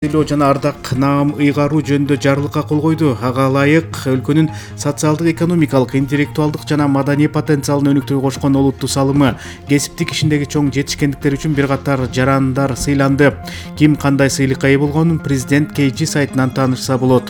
Тилөө жана ардак наам ыйгаруу жөнүндө жарлыкка кол койду. Ага ылайык өлкөнүн социалдык, экономикалык, интеллектуалдык жана маданий потенциалын өнүктүүгө кошкон олуттуу салымы, кесиптик ишиндеги чоң жетишкендиктер үчүн бир катар жарандар сыйланды. Ким кандай сыйлыкка ээ болгонун президент KG сайтынан таанышса болот.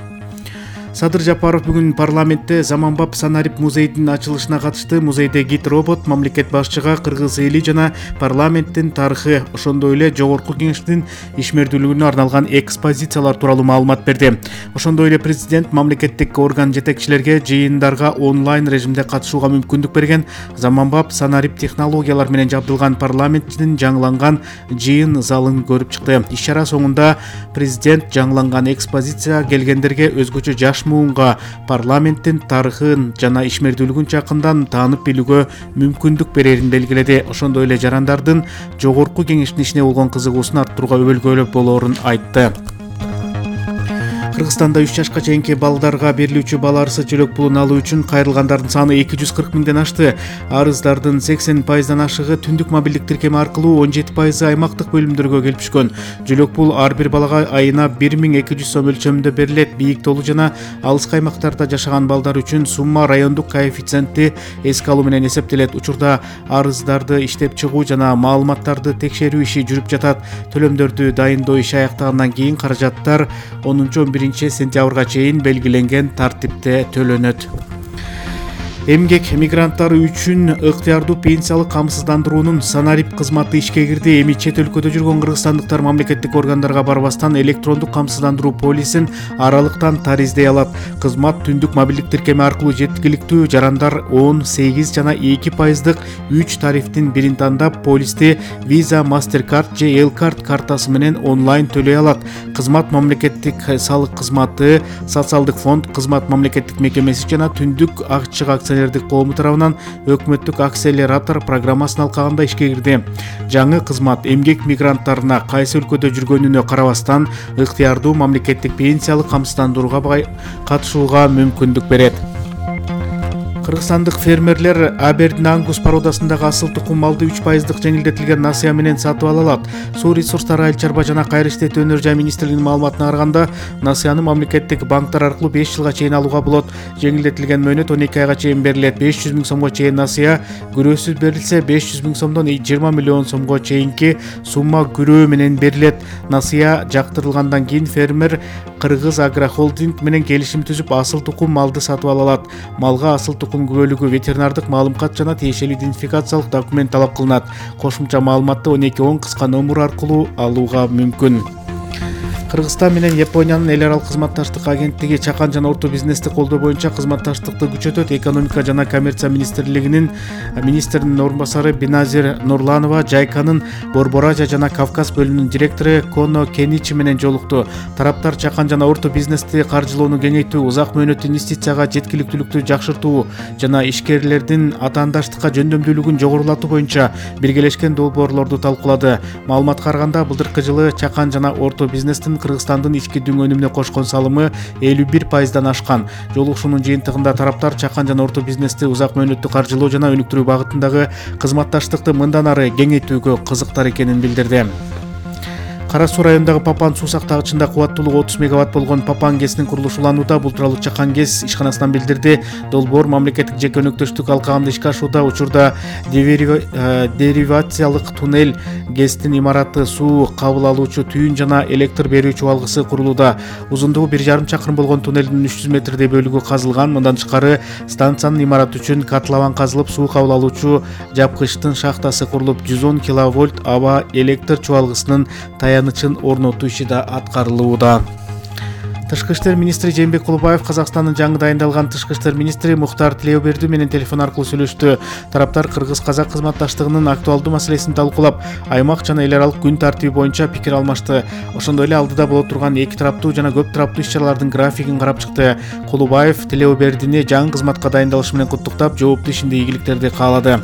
Садыр Жапаров бүгүн парламентте заманбап Санарип музейдин ачылышына катышты. Музейде гид робот, мамлекет башчыга кыргыз эли жана парламенттин тарыхы, ошондой эле жогорку кеңештин ишмердүүлүгүнө арналган экспозициялар тууралуу маалымат берди. Ошондой эле президент мамлекеттик орган жетекчилерге жыйындарга онлайн режимде катышууга мүмкүндүк берген. Заманбап Санарип технологиялар менен жабдылган парламенттин жаңыланган жыйын залын көрүп чыкты. Иш-чара соңунда президент жаңыланган экспозиция келгендерге өзгөчө жаш муунга парламенттин тарыхын жана ишмердүүлүгүн жакындан таанып билүүгө мүмкүндүк берерин белгиледи. Ошондой эле жарандардын жогорку кеңештин ишине болгон кызыгуусун арттырууга өбөлгөлөп болоорун айтты. Кыргызстанда 3 жашка чейинки балдарга берилүүчү бала арызы жөлөк пулун алуу үчүн кайрылгандардын саны 240 миңден ашты. Арыздардын 80% ашыгы түндүк мобилдик тиркеме аркылуу, 17% аймактык бөлүмдөргө келип түшкөн. Жөлөк пул ар бир балага айына 1200 сом өлчөмүндө берилет. Бийик толу жана алыскы аймактарда жашаган балдар үчүн сумма райондук коэффициентти эске алуу менен эсептелет. Учурда арыздарды иштеп чыгуу жана маалыматтарды текшерүү иши жүрүп жатат. Төлөмдөрдү дайындоо иши аяктагандан кийин каражаттар 10-11 сентябрга чейин белгиленген тартипте төлөнөт. Эмгек мигранттары үчүн ыктыярдуу пенсиялык камсыздандыруунун Санарип кызматы ишке кирди. Эми чет өлкөдө жүргөн кыргызстандыктар мамлекеттик органдарга барбастан электрондук камсыздандыруу полисин аралыктан тариздей алат. Кызмат түндүк мобилдик тиркеме аркылуу жеткиликтүү. Жарандар 18 жана 2% 3 тарифтин бирин тандап, полисти Visa, MasterCard же L-Card картасы менен онлайн төлөй алат. Кызмат мамлекеттик салык кызматы, социалдык фонд, кызмат мамлекеттик мекемеси жана түндүк акчык акционердик коому тарабынан өкмөттүк акселератор программасын алкаганда ишке кирди. Жаңы кызмат эмгек мигранттарына кайсы өлкөдө жүргөнүнө карабастан ыктыярдуу мамлекеттик пенсиялык камсыздандырууга катышууга мүмкүндүк берет. Кыргызстандык фермерлер Абердин Ангус породасындагы асыл тукум малды 3% жеңилдетилген насыя менен сатып ала алат. Суу ресурстары, айыл чарба жана кайры иштетүү өнөр жай министрлигинин маалыматына караганда, насыяны мамлекеттик банктар аркылуу 5 жылга чейин алууга болот. Жеңилдетилген мөөнөт 12 айга чейин берилет. 500 миң сомго чейин насыя, күрөөсүз берилсе 500 миң сомдон 20 миллион сомго чейинки сумма күрөө менен берилет. Насыя жактырылгандан кийин фермер Кыргыз Агрохолдинг менен келишим түзүп асыл тукум малды сатып ала алат. Малга асыл тукум күбөлүгү, ветеринардык маалымкат жана тиешелүү идентификациялык документ талап кылынат. Кошумча маалыматты 1210 кыска номер аркылуу алууга мүмкүн. Кыргызстан менен Япониянын эл аралык кызматташтык агенттиги чакан жана орто бизнести колдоо боюнча кызматташтыкты күчөтөт. Экономика жана коммерция министрлигинин орун басары Биназир Нурланова Жайканын Борбор Азия жана Кавказ бөлүмүнүн директору Коно Кеничи менен жолукту. Тараптар чакан жана орто бизнести каржылоону кеңейтүү, узак мөөнөттүү инвестицияга жеткиликтүүлүктү жакшыртуу жана ишкерлердин атаандаштыкка жөндөмдүүлүгүн жогорулатуу боюнча биргелешкен долбоорлорду талкуулады. Маалыматка караганда, былтыркы жылы чакан жана орто бизнестин Кыргызстандын ички дүң өнүмүнө кошкон салымы 51%дан ашкан. Жолугушуунун жыйынтыгында тараптар чакан жана орто бизнести узак мөөнөттүү каржылоо жана өнүктүрүү багытындагы кызматташтыкты мындан ары кеңейтүүгө кызыктар экенин билдирди. Кара Суу районундагы Папан суу сактагычында кубаттуулугу 30 мегаватт болгон Папан ГЭСинин курулушу уланууда. Бул тууралуу Чакан ГЭС ишканасынан билдирди. Долбоор мамлекеттик жеке өнөктөштүк алкагында ишке ашууда. Учурда деривациялык туннель, ГЭСтин имараты, суу кабыл алуучу түйүн жана электр берүү чубалгысы курулууда. Узундугу 1,5 чакырым болгон туннелдин 300 метрдей бөлүгү казылган. Мындан тышкары станциянын имараты үчүн котлован казылып, суу кабыл алуучу жапкычтын шахтасы курулуп, 110 киловольт аба электр чубалгысынын таянычын орнотуу иши да аткарылууда. Тышкы иштер министри Жээнбек Кулубаев Казакстандын жаңы дайындалган тышкы иштер министри Мухтар Тилеуберди менен телефон аркылуу сүйлөштү. Тараптар кыргыз-казак кызматташтыгынын актуалдуу маселесин талкуулап, аймак жана эл аралык күн тартиби боюнча пикир алмашты. Ошондой эле алдыда боло турган эки тараптуу жана көп тараптуу иш-чаралардын графигин карап чыкты. Кулубаев Тилеубердини жаңы кызматка дайындалышы менен куттуктап, жооптуу ишинде ийгиликтерди каалады.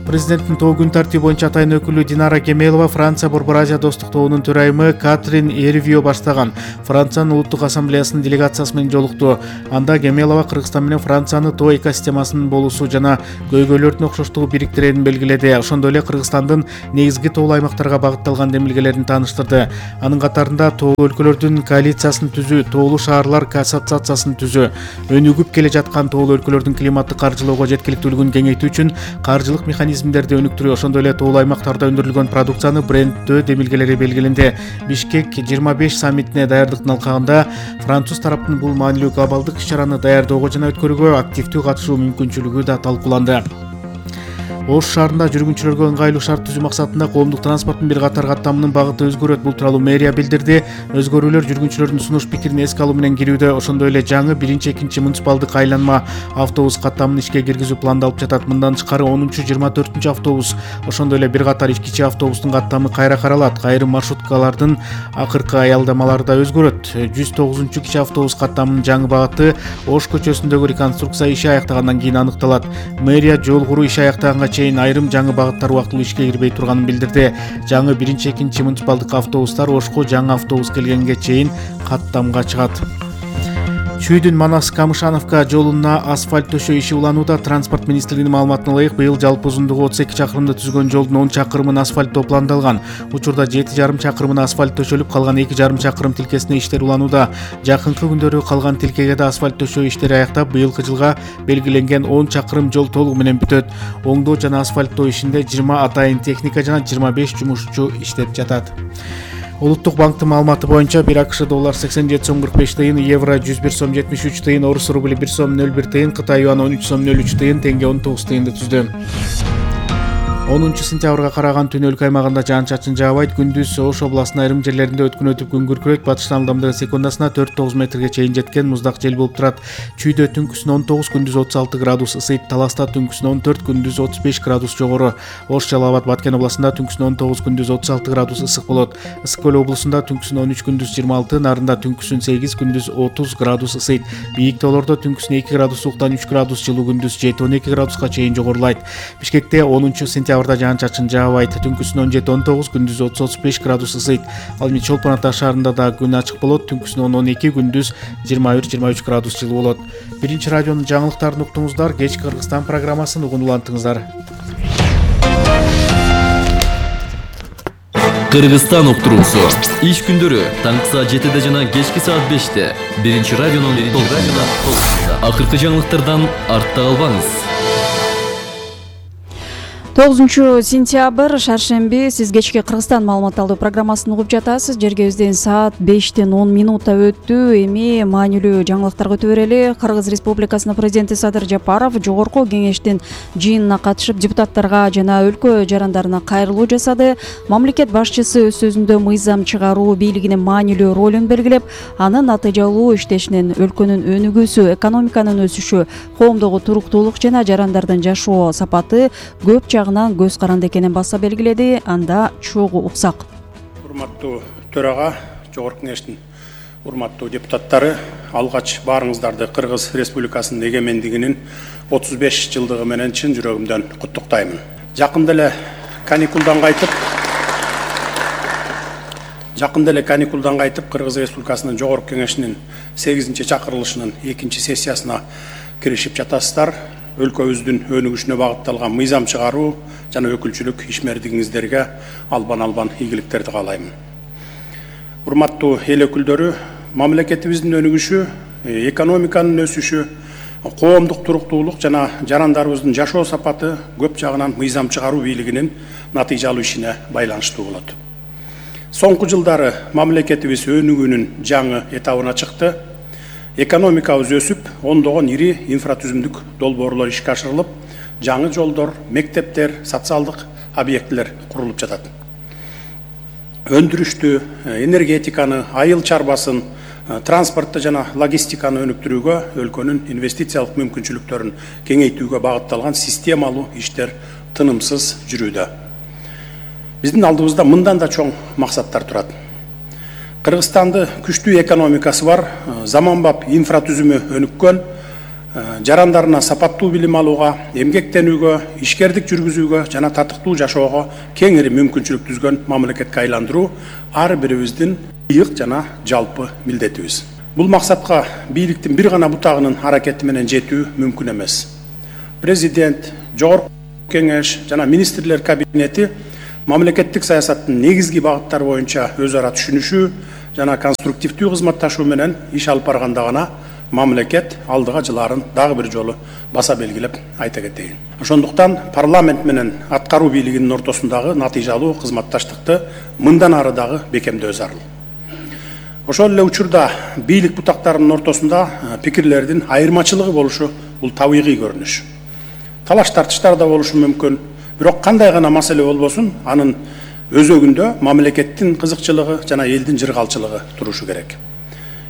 Президенттин тоо күн тартиби боюнча атайын өкүлү Динара Кемелова Франция Борбор Азия достук тобунун төрайымы Катрин Эрвио баштаган Франциянын улуттук ассамблеясынын делегациясы менен жолукту. Анда Кемелова Кыргызстан менен Франциянын тоо экосистемасынын болуусу жана көйгөйлөрдүн окшоштугу бириктирерин белгиледи. Ошондой эле Кыргызстандын негизги тоолуу аймактарга багытталган демилгелерин тааныштырды. Анын катарында тоолуу өлкөлөрдүн коалициясын түзүү, тоолуу шаарлар ассоциациясын түзүү, өнүгүп келе жаткан тоолуу өлкөлөрдүн климаттык каржылоого жеткиликтүүлүгүн кеңейтүү үчүн каржылык механизмдерди өнүктүрүү, ошондой эле тоолуу аймактарда өндүрүлгөн продукцияны брендтөө демилгелери белгиленди. Бишкек 25 саммитине даярдыктын алкагында француз тараптын бул маанилүү глобалдык иш-чараны даярдоого жана өткөрүүгө активдүү катышуу мүмкүнчүлүгү да талкууланды. Ош шаарында жүргүнчүлөргө ыңгайлуу шарт түзүү максатында коомдук транспорттун бир катар каттамынын багыты өзгөрөт. Бул тууралуу мэрия билдирди. Өзгөрүүлөр жүргүнчүлөрдүн сунуш пикирин эске алуу менен кирүүдө. Ошондой эле жаңы 1-2 муниципалдык айланма автобус каттамын ишке киргизүү пландалып жатат. Мындан тышкары 10-24 автобус, ошондой эле бир катар кичи автобустун каттамы кайра каралат. Айрым маршруткалардын акыркы аялдамалары да өзгөрөт. 109 кичи автобус каттамынын жаңы багыты Ош көчөсүндөгү реконструкция иши аяктагандан кийин аныкталат. Мэрия жол куруу иши аяктаганга айрым жаңы багыттар убактылуу ишке кирбей турганын билдирди. Жаңы 1-2 муниципалдык автобустар Ошко жаңы автобус келгенге чейин каттамга чыгат. Чүйдүн Манас-Камышановка жолуна асфальт төшөө иши уланууда. Транспорт министрлигинин маалыматына ылайык, быйыл жалпы узундугу 32 чакырымды түзгөн жолдун 10 чакырымын асфальттоо пландалган. Учурда 7,5 чакырымына асфальт төшөлүп, калган 2,5 чакырым тилкесине иштер уланууда. Жакынкы күндөрү калган тилкеге да асфальт төшөө иштери аяктап, быйылкы жылга белгиленген 10 чакырым жол толугу менен бүтөт. Оңдоо жана асфальттоо ишинде 20 атайын техника жана 25 жумушчу иштеп жатат. Улуттук банктын маалыматы боюнча бир АКШ доллар 87 сом 45 тыйын, евро 101 сом 73 тыйын, орус рубли 1 сом 01 тыйын, Кытай юаны 13 сом 03 тыйын, тенге 19 тыйынды түздү. 10 сентябрга караган түн өлкө аймагында жаан-чачын жаабайт. Күндүз Ош областынын айрым жерлеринде өткөн өтүп күн күркүрөйт. Батыштан ылдамдыгы секундасына 4-9 метрге чейин жеткен муздак жел болуп турат. Чүйдө түнкүсүн 19, күндүз 36 градус ысыйт. Таласта түнкүсүн 14, күндүз 35 градус жогору. Ош, Жалал Абад, Баткен областында түнкүсүн 19, күндүз 36 градус ысык болот. Ысык көл облусунда түнкүсүн 13, күндүз 26, Нарында түнкүсүн 8, күндүз 30 градус ысыйт. Бийик тоолордо түнкүсүн 2 градус сууктан 3 градус жылуу, күндүз 7-12 градуска чейин жогорулайт. Бишкекте 10 сентябрда жаан-чачын жаабайт. Түнкүсүн 17-19, күндүз 30-35 градус ысыйт. Ал эми Чолпон Ата шаарында да күн ачык болот. Түнкүсүн 12, күндүз 21-23 градус жылуу болот. Биринчи радионун жаңылыктарын уктуңуздар. Кечки Кыргызстан программасын угуп улантыңыздар. Кыргызстан уктуруусу. Иш күндөрү таңкы саат 7-де жана кечки саат 5-те. Биринчи радионун толкунунда. Акыркы жаңылыктардан артта калбаңыз. 9 сентябрь шаршемби, сиз кечки Кыргызстан маалымат алуу программасын угуп жатасыз. Жергебизден саат 5:10 өттү. Эми маанилүү жаңылыктарга өтө берели. Кыргыз Республикасынын президенти Садыр Жапаров жогорку кеңештин жыйынына катышып, депутаттарга жана өлкө жарандарына кайрылуу жасады. Мамлекет башчысы өз сөзүндө мыйзам чыгаруу бийлигинин маанилүү ролун белгилеп, анын натыйжалуу иштешинен өлкөнүн өнүгүүсү, экономиканын өсүшү, коомдогу туруктуулук жана жарандардын жашоо сапаты көп көз каранды экенин баса белгиледи. Анда чогуу уксак. Урматтуу төрага, жогорку кеңештин урматтуу депутаттары, алгач баарыңыздарды Кыргыз Республикасынын эгемендигинин 35 жылдыгы менен чын жүрөгүмдөн куттуктаймын. Жакында эле каникулдан кайтып, Кыргыз Республикасынын жогорку кеңешинин 8-чакырылышынын 2-сессиясына киришип жатасыздар. Өлкөбүздүн өнүгүшүнө багытталган мыйзам чыгаруу жана өкүлчүлүк ишмердигиңиздерге албан ийгиликтерди каалайм. Урматтуу эл өкүлдөрү, мамлекетибиздин өнүгүшү, экономиканын өсүшү, коомдук туруктуулук жана жарандарыбыздын жашоо сапаты көп жагынан мыйзам чыгаруу бийлигинин натыйжалуу ишине байланыштуу болот. Соңку жылдары мамлекетибиз өнүгүүнүн жаңы этабына чыкты. Экономикабыз өсүп, ондогон ири инфратүзүмдүк долбоорлор ишке ашырылып, жаңы жолдор, мектептер, социалдык объектилер курулуп жатат. Өндүрүштү, энергетиканы, айыл чарбасын, транспортты жана логистиканы өнүктүрүүгө, өлкөнүн инвестициялык мүмкүнчүлүктөрүн кеңейтүүгө багытталган системалуу иштер тынымсыз жүрүүдө. Биздин алдыбызда мындан да чоң максаттар турат. Кыргызстанды күчтүү экономикасы бар, заманбап инфратүзүмү өнүккөн, жарандарына сапаттуу билим алууга, эмгектенүүгө, ишкердик жүргүзүүгө жана татыктуу жашоого кеңири мүмкүнчүлүк түзгөн мамлекетке айландыруу ар бирибиздин ыйык жана жалпы милдетибиз. Бул максатка бийликтин бир гана бутагынын аракети менен жетүү мүмкүн эмес. Президент, жогорку кеңеш жана министрлер кабинети мамлекеттик саясаттын негизги багыттары боюнча өз ара түшүнүшүү жана конструктивдүү кызматташуу менен иш алып барганда гана мамлекет алдыга жылаарын дагы бир жолу баса белгилеп айта кетейин. Ошондуктан парламент менен аткаруу бийлигинин ортосундагы натыйжалуу кызматташтыкты мындан ары дагы бекемдөө зарыл. Ошол эле учурда бийлик бутактарынын ортосунда пикирлердин айырмачылыгы болушу бул табигый көрүнүш. Талаш тартыштар да болушу мүмкүн, бирок кандай гана маселе болбосун, анын өзөгүндө мамлекеттин кызыкчылыгы жана элдин жыргалчылыгы турушу керек.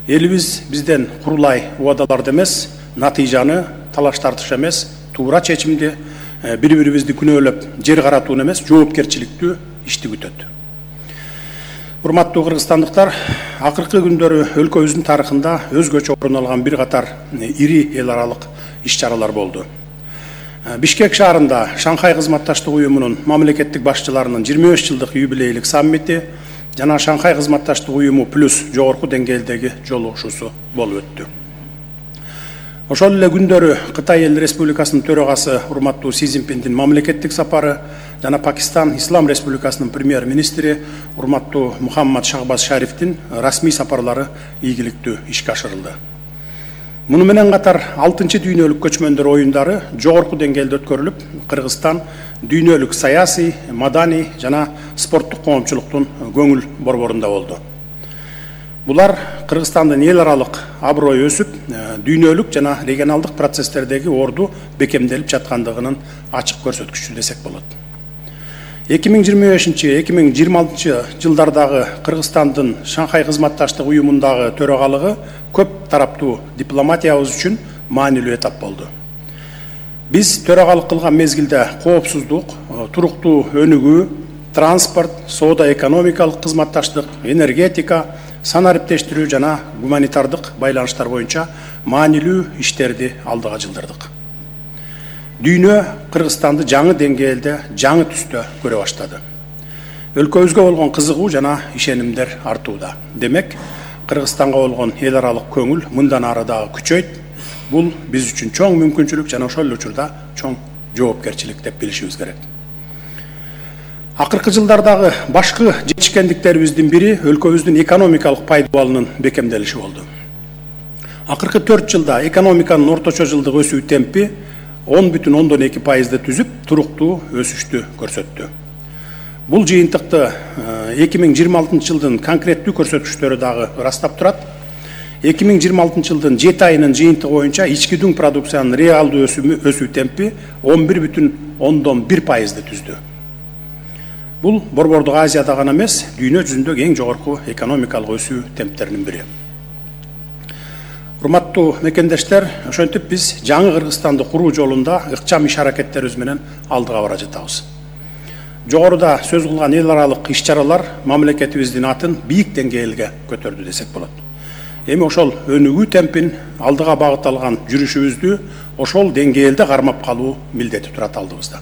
Элибиз бизден курулай убадаларды эмес, натыйжаны, талаш тартыш эмес, туура чечимди, бири-бирибизди күнөөлөп жер каратууну эмес, жоопкерчиликтүү ишти күтөт. Урматтуу кыргызстандыктар, акыркы күндөрү өлкөбүздүн тарыхында өзгөчө орун алган бир катар ири эл аралык иш-чаралар болду. Бишкек шаарында Шанхай кызматташтык уюмунун мамлекеттик башчыларынын 25 жылдык юбилейлик саммити жана Шанхай кызматташтык уюму плюс жогорку деңгээлдеги жолугушуусу болуп өттү. Ошол эле күндөрү Кытай Эл Республикасынын төрагасы урматтуу Си Цзиньпиндин мамлекеттик сапары жана Пакистан Ислам Республикасынын премьер-министри урматтуу Мухаммад Шахбаз Шарифтин расмий сапарлары ийгиликтүү ишке ашырылды. Муну менен катар 6-чы дүйнөлүк көчмөндөр оюндары жогорку деңгээлде өткөрүлүп, Кыргызстан дүйнөлүк саясий, маданий жана спорттук коомчулуктун көңүл борборунда болду. Булар Кыргызстандын эл аралык аброю өсүп, дүйнөлүк жана регионалдык процесстердеги орду бекемделип жаткандыгынын ачык көрсөткүчү десек болот. 2025-2026 жылдардагы Кыргызстандын Шанхай кызматташтык уюмундагы төрагалыгы көп тараптуу дипломатиябыз үчүн маанилүү этап болду. Биз төрагалык кылган мезгилде коопсуздук, туруктуу өнүгүү, транспорт, соода экономикалык кызматташтык, энергетика, санариптештирүү жана гуманитардык байланыштар боюнча маанилүү иштерди алдыга жылдырдык. Дүйнө Кыргызстанды жаңы деңгээлде, жаңы түстө көрө баштады. Өлкөбүзгө болгон кызыгуу жана ишенимдер артууда. Демек, Кыргызстанга болгон эл аралык көңүл мындан ары дагы күчөйт. Бул биз үчүн чоң мүмкүнчүлүк жана ошол эле учурда чоң жоопкерчилик деп билишибиз керек. Акыркы жылдардагы башкы жетишкендиктерибиздин бири өлкөбүздүн экономикалык пайдубалынын бекемделиши болду. Акыркы 4 жылда экономиканын орточо жылдык өсүү темпи 10,2% түзүп, туруктуу өсүштү көрсөттү. Бул жыйынтыкты 2026 жылдын конкреттүү көрсөткүчтөрү дагы ырастап турат. 2026 жылдын 7 айынын жыйынтыгы боюнча ички дүң продукциянын реалдуу өсүү темпи 11,1% түздү. Бул Борбордук Азияда гана эмес, дүйнө жүзүндөгү эң жогорку экономикалык өсүү темптеринин бири. Урматтуу мекендештер, ошентип биз жаңы Кыргызстанды куруу жолунда ыкчам иш аракеттерибиз менен алдыга бара жатабыз. Жогоруда сөз кылган эл аралык иш-чаралар мамлекетибиздин атын бийик деңгээлге көтөрдү десек болот. Эми ошол өнүгүү темпин алдыга багытталган жүрүшүбүздү ошол деңгээлде кармап калуу милдети турат алдыбызда.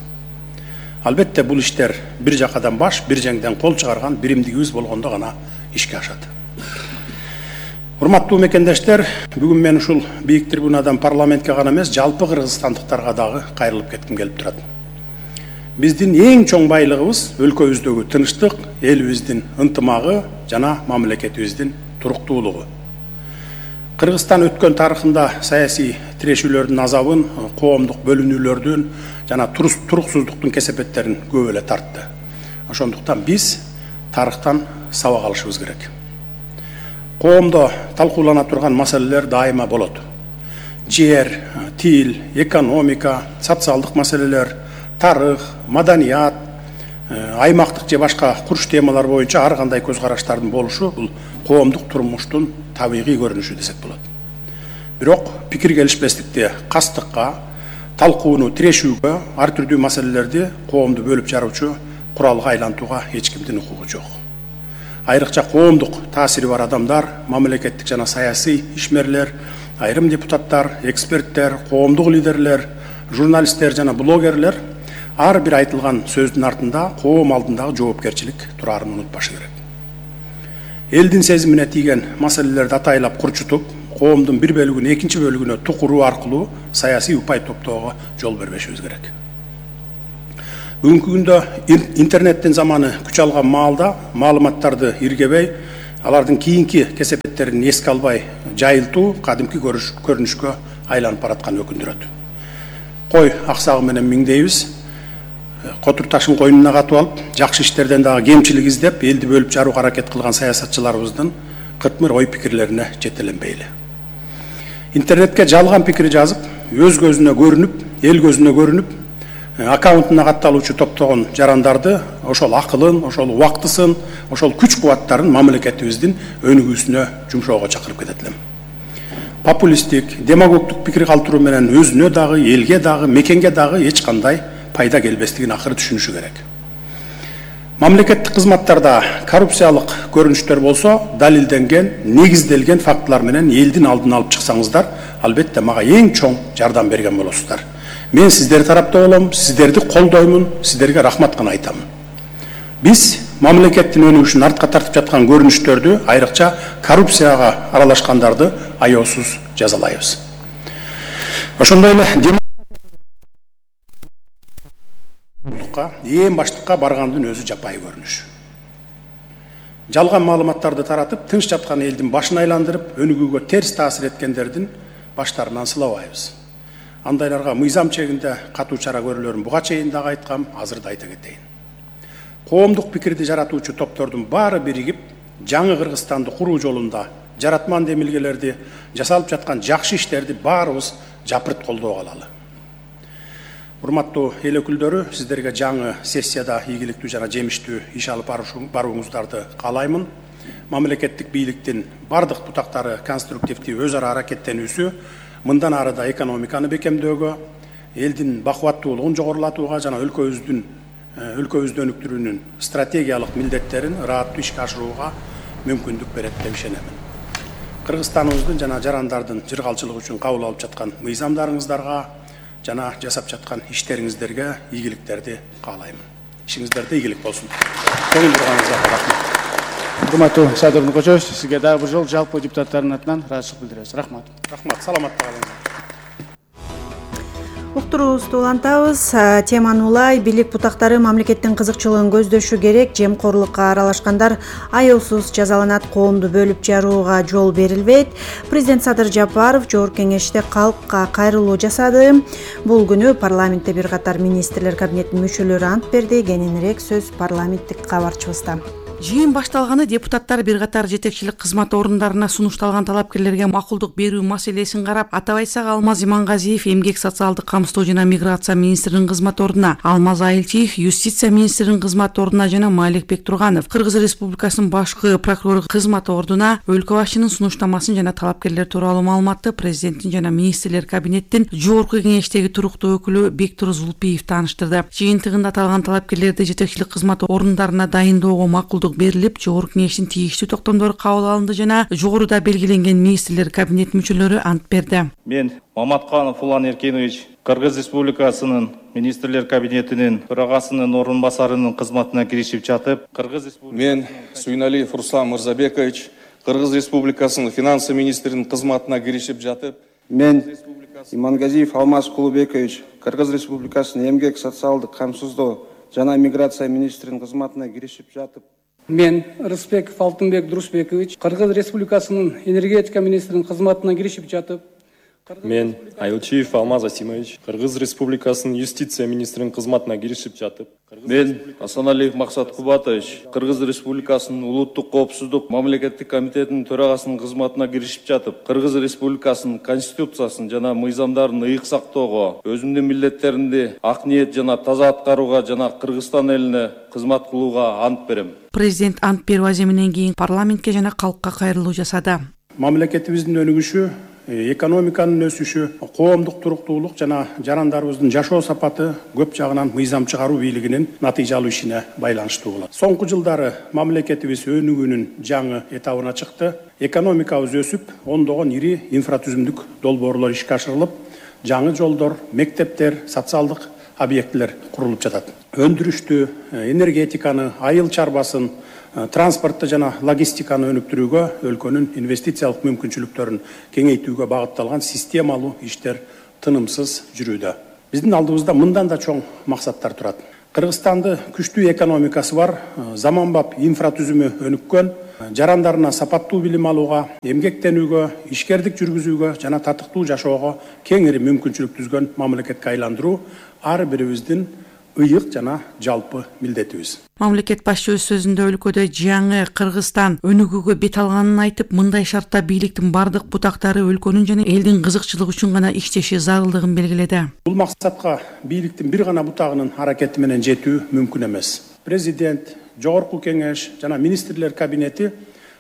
Албетте бул иштер бир жакадан баш, бир жеңден кол чыгарган биримдигибиз болгондо гана ишке ашат. Урматтуу мекендештер, бүгүн мен ушул бийик трибунадан парламентке гана эмес, жалпы кыргызстандыктарга дагы кайрылып кетким келип турат. Биздин эң чоң байлыгыбыз өлкөбүздөгү тынчтык, элибиздин ынтымагы жана мамлекетибиздин туруктуулугу. Кыргызстан өткөн тарыхында саясий тирешүүлөрдүн азабын, коомдук бөлүнүүлөрдүн жана туруксуздуктун кесепеттерин көп эле тартты. Ошондуктан биз тарыхтан сабак алышыбыз керек. Коомдо талкуулана турган маселелер дайыма болот. Жер, тил, экономика, социалдык маселелер, тарых, маданият, аймактык же башка курч темалар боюнча ар кандай көз караштардын болушу бул коомдук турмуштун табигый көрүнүшү десек болот. Бирок пикир келишпестикти кастыкка, талкууну тирешүүгө, ар түрдүү маселелерди коомду бөлүп жаруучу куралга айлантууга эч кимдин укугу жок. Айрыкча коомдук таасири бар адамдар, мамлекеттик жана саясий ишмерлер, айрым депутаттар, эксперттер, коомдук лидерлер, журналисттер жана блогерлер ар бир айтылган сөздүн артында коом алдындагы жоопкерчилик турарын унутпашы керек. Элдин сезимине тийген маселелерди атайлап курчутуп, коомдун бир бөлүгүн экинчи бөлүгүнө тукуруу аркылуу саясий упай топтоого жол бербешибиз керек. Бүгүнкү күндө интернеттин заманы күч алган маалда маалыматтарды иргебей, алардын кийинки кесепеттерин эске албай жайылтуу кадимки көрүнүшкө айланып бараткан өкүндүрөт. Кой аксагы менен миңдейбиз, котур ташын койнуна катып алып, жакшы иштерден дагы кемчилик издеп, элди бөлүп жарууга аракет кылган саясатчыларыбыздын кытмыр ой пикирлерине жетеленбейли. Интернетке жалган пикир жазып, өз көзүнө көрүнүп, эл көзүнө көрүнүп, аккаунтуна катталуучу топтогон жарандарды, ошол акылын, ошол убактысын, ошол күч кубаттарын мамлекетибиздин өнүгүүсүнө жумшоого чакырып кетет элем. Популисттик, демагогдук пикир калтыруу менен өзүнө дагы, элге дагы, мекенге дагы эч кандай пайда келбестигин акыры түшүнүшү керек. Мамлекеттик кызматтарда коррупциялык көрүнүштөр болсо, далилденген, негизделген фактылар менен элдин алдын алып чыксаңыздар, албетте мага эң чоң жардам берген болосуздар. Мен сиздер тарапта болом, сиздерди колдоймун, сиздерге рахмат гана айтамын. Биз мамлекеттин өнүгүшүн артка тартып жаткан көрүнүштөрдү, айрыкча коррупцияга аралашкандарды аеосуз жазалайбыз. Ошондой эле эң баштыкка баргандын өзү жапайы көрүнүш. Жалган маалыматтарды таратып, тынч жаткан элдин башын айландырып, өнүгүүгө терс таасир эткендердин баштарынан сылабайбыз. Андайларга мыйзам чегинде катуу чара көрүлөрүн буга чейин дагы айткам, азыр да айта кетейин. Коомдук пикирди жаратуучу топтордун баары биригип, жаңы Кыргызстанды куруу жолунда жаратман демилгелерди, жасалып жаткан жакшы иштерди баарыбыз жапырт колдоо алалы. Урматтуу эл өкүлдөрү, сиздерге жаңы сессияда ийгиликтүү жана жемиштүү иш алып барууңуздарды каалаймын. Мамлекеттик бийликтин бардык бутактары конструктивдүү өз ара аракеттенүүсү мындан ары да экономиканы бекемдөөгө, элдин бакубаттуулугун жогорулатууга жана өлкөбүздү өнүктүрүүнүн стратегиялык милдеттерин ырааттуу ишке ашырууга мүмкүндүк берет деп ишенемин. Кыргызстаныбыздын жана жарандардын жыргалчылыгы үчүн кабыл алып жаткан мыйзамдарыңыздарга жана жасап жаткан иштериңиздерге ийгиликтерди каалайм. Ишиңиздерде ийгилик болсун. Көңүл бурганыңызга рахмат. Урматтуу Садыр Нуркожоевич, сизге дагы бир жолу жалпы депутаттардын атынан ыраазычылык билдиребиз. Рахмат. Рахмат, саламатта калыңыздар. Уктуруубузду улантабыз. Теманы улай, бийлик бутактары мамлекеттин кызыкчылыгын көздөшү керек, жемкорлукка аралашкандар аеосуз жазаланат, коомду бөлүп жарууга жол берилбейт. Президент Садыр Жапаров жогорку кеңеште калкка кайрылуу жасады. Бул күнү парламентте бир катар министрлер кабинетинин мүчөлөрү ант берди. Кененирээк сөз парламенттик кабарчыбызда. Жыйын башталганы депутаттар бир катар жетекчилик кызмат орундарына сунушталган талапкерлерге макулдук берүү маселесин карап, атап айтсак Алмаз Имангазиев эмгек социалдык камсыздоо жана миграция министринин кызмат ордуна, Алмаз Айылчиев юстиция министринин кызмат ордуна жана Маликбек Турганов Кыргыз Республикасынын башкы прокурору кызмат ордуна өлкө башчынын сунуштамасын жана талапкерлер тууралуу маалыматты президенттин жана министрлер кабинеттин жогорку кеңештеги туруктуу өкүлү Бектур Зулпиев тааныштырды. Жыйынтыгында аталган талапкерлерди жетекчилик кызмат орундарына дайындоого макулдук берилип, жогорку кеңештин тийиштүү токтомдору кабыл алынды жана жогоруда белгиленген министрлер кабинет мүчөлөрү ант берди. Мен Маматканов Улан Эркинович Кыргыз Республикасынын министрлер кабинетинин төрагасынын орун басарынын кызматына киришип жатып, Мен Суйналиев Руслан Мырзабекович Кыргыз Республикасынын финансы министринин кызматына киришип жатып, Мен Имангазиев Алмаз Кулубекович Кыргыз Республикасынын эмгек социалдык камсыздоо жана миграция министринин кызматына киришип жатып, Мен Рыспеков Алтынбек Дурусбекович Кыргыз Республикасынын энергетика министринин кызматына киришип жатып, Мен Айылчиев Алмаз Асимович Кыргыз Республикасынын юстиция министринин кызматына киришип жатып, Мен Асаналиев Максат Кубатович Кыргыз Республикасынын улуттук коопсуздук мамлекеттик комитетинин төрагасынын кызматына киришип жатып, Кыргыз Республикасынын конституциясын жана мыйзамдарын ыйык сактоого, өзүмдүн милдеттеримди ак ниет жана таза аткарууга жана Кыргызстан элине кызмат кылууга ант берем. Президент ант берүү аземинен кийин парламентке жана калкка кайрылуу жасады. Мамлекетибиздин өнүгүшү экономиканын өсүшү, коомдук туруктуулук жана жарандарыбыздын жашоо сапаты көп жагынан мыйзам чыгаруу бийлигинин натыйжалуу ишине байланыштуу болот. Соңку жылдары мамлекетибиз өнүгүүнүн жаңы этабына чыкты. Экономикабыз өсүп, ондогон ири инфратүзүмдүк долбоорлор ишке ашырылып, жаңы жолдор, мектептер, социалдык объектилер курулуп жатат. Өндүрүштү, энергетиканы, айыл чарбасын, транспортты жана логистиканы өнүктүрүүгө, өлкөнүн инвестициялык мүмкүнчүлүктөрүн кеңейтүүгө багытталган системалуу иштер тынымсыз жүрүүдө. Биздин алдыбызда мындан да чоң максаттар турат. Кыргызстанды күчтүү экономикасы бар, заманбап инфратүзүмү өнүккөн, жарандарына сапаттуу билим алууга, эмгектенүүгө, ишкердик жүргүзүүгө жана татыктуу жашоого кеңири мүмкүнчүлүк түзгөн мамлекетке айландыруу ар бирибиздин ыйык жана жалпы милдетибиз. Мамлекет башчы өз сөзүндө өлкөдө жаңы Кыргызстан өнүгүүгө бет алганын айтып, мындай шартта бийликтин бардык бутактары өлкөнүн жана элдин кызыкчылыгы үчүн гана иштеши зарылдыгын белгиледи. Бул максатка бийликтин бир гана бутагынын аракети менен жетүү мүмкүн эмес. Президент, Жогорку кеңеш жана министрлер кабинети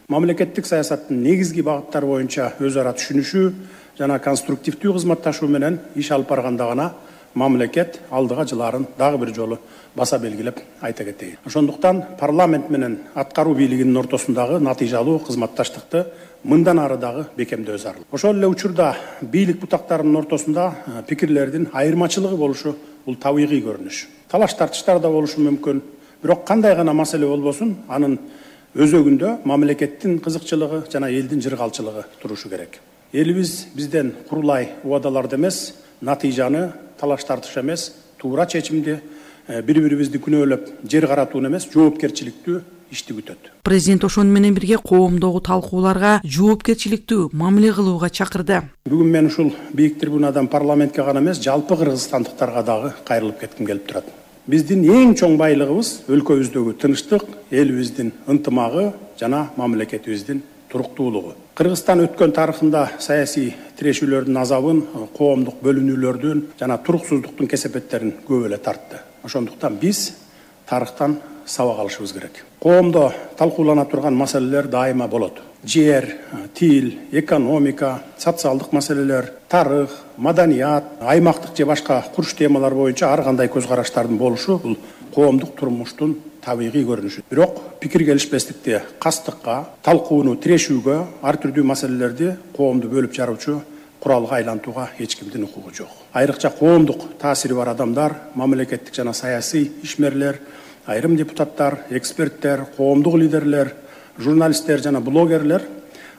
мамлекеттик саясаттын негизги багыттары боюнча өз ара түшүнүшүү жана конструктивдүү кызматташуу менен иш алып барганда гана мамлекет алдыга жылаарын дагы бир жолу баса белгилеп айта кетейин. Ошондуктан парламент менен аткаруу бийлигинин ортосундагы натыйжалуу кызматташтыкты мындан ары дагы бекемдөө зарыл. Ошол эле учурда бийлик бутактарынын ортосунда пикирлердин айырмачылыгы болушу бул табигый көрүнүш. Талаш тартыштар да болушу мүмкүн. Бирок кандай гана маселе болбосун, анын өзөгүндө мамлекеттин кызыкчылыгы жана элдин жыргалчылыгы турушу керек. Элибиз бизден курулай убадаларды эмес, натыйжаны, талаш тартыш эмес, туура чечимди, бири-бирибизди күнөөлөп жер каратууну эмес, жоопкерчиликтүү ишти күтөт. Президент ошону менен бирге коомдогу талкууларга жоопкерчиликтүү мамиле кылууга чакырды. Бүгүн мен ушул бийик трибунадан парламентке гана эмес, жалпы кыргызстандыктарга дагы кайрылып кетким келип турат. Биздин эң чоң байлыгыбыз өлкөбүздөгү тынчтык, элибиздин ынтымагы жана мамлекетибиздин туруктуулугу. Кыргызстан өткөн тарыхында саясий тирешүүлөрдүн азабын, коомдук бөлүнүүлөрдүн жана туруксуздуктун кесепеттерин көп эле тартты. Ошондуктан биз тарыхтан сабак алышыбыз керек. Коомдо талкуулана турган маселелер дайыма болот. Жер, тил, экономика, социалдык маселелер, тарых, маданият, аймактык же башка курч темалар боюнча ар кандай көз караштардын болушу бул коомдук турмуштун табигый көрүнүшү. Бирок пикир келишпестикти кастыкка, талкууну тирешүүгө, ар түрдүү маселелерди коомду бөлүп жаруучу куралга айлантууга эч кимдин укугу жок. Айрыкча коомдук таасири бар адамдар, мамлекеттик жана саясий ишмерлер, айрым депутаттар, эксперттер, коомдук лидерлер, журналисттер жана блогерлер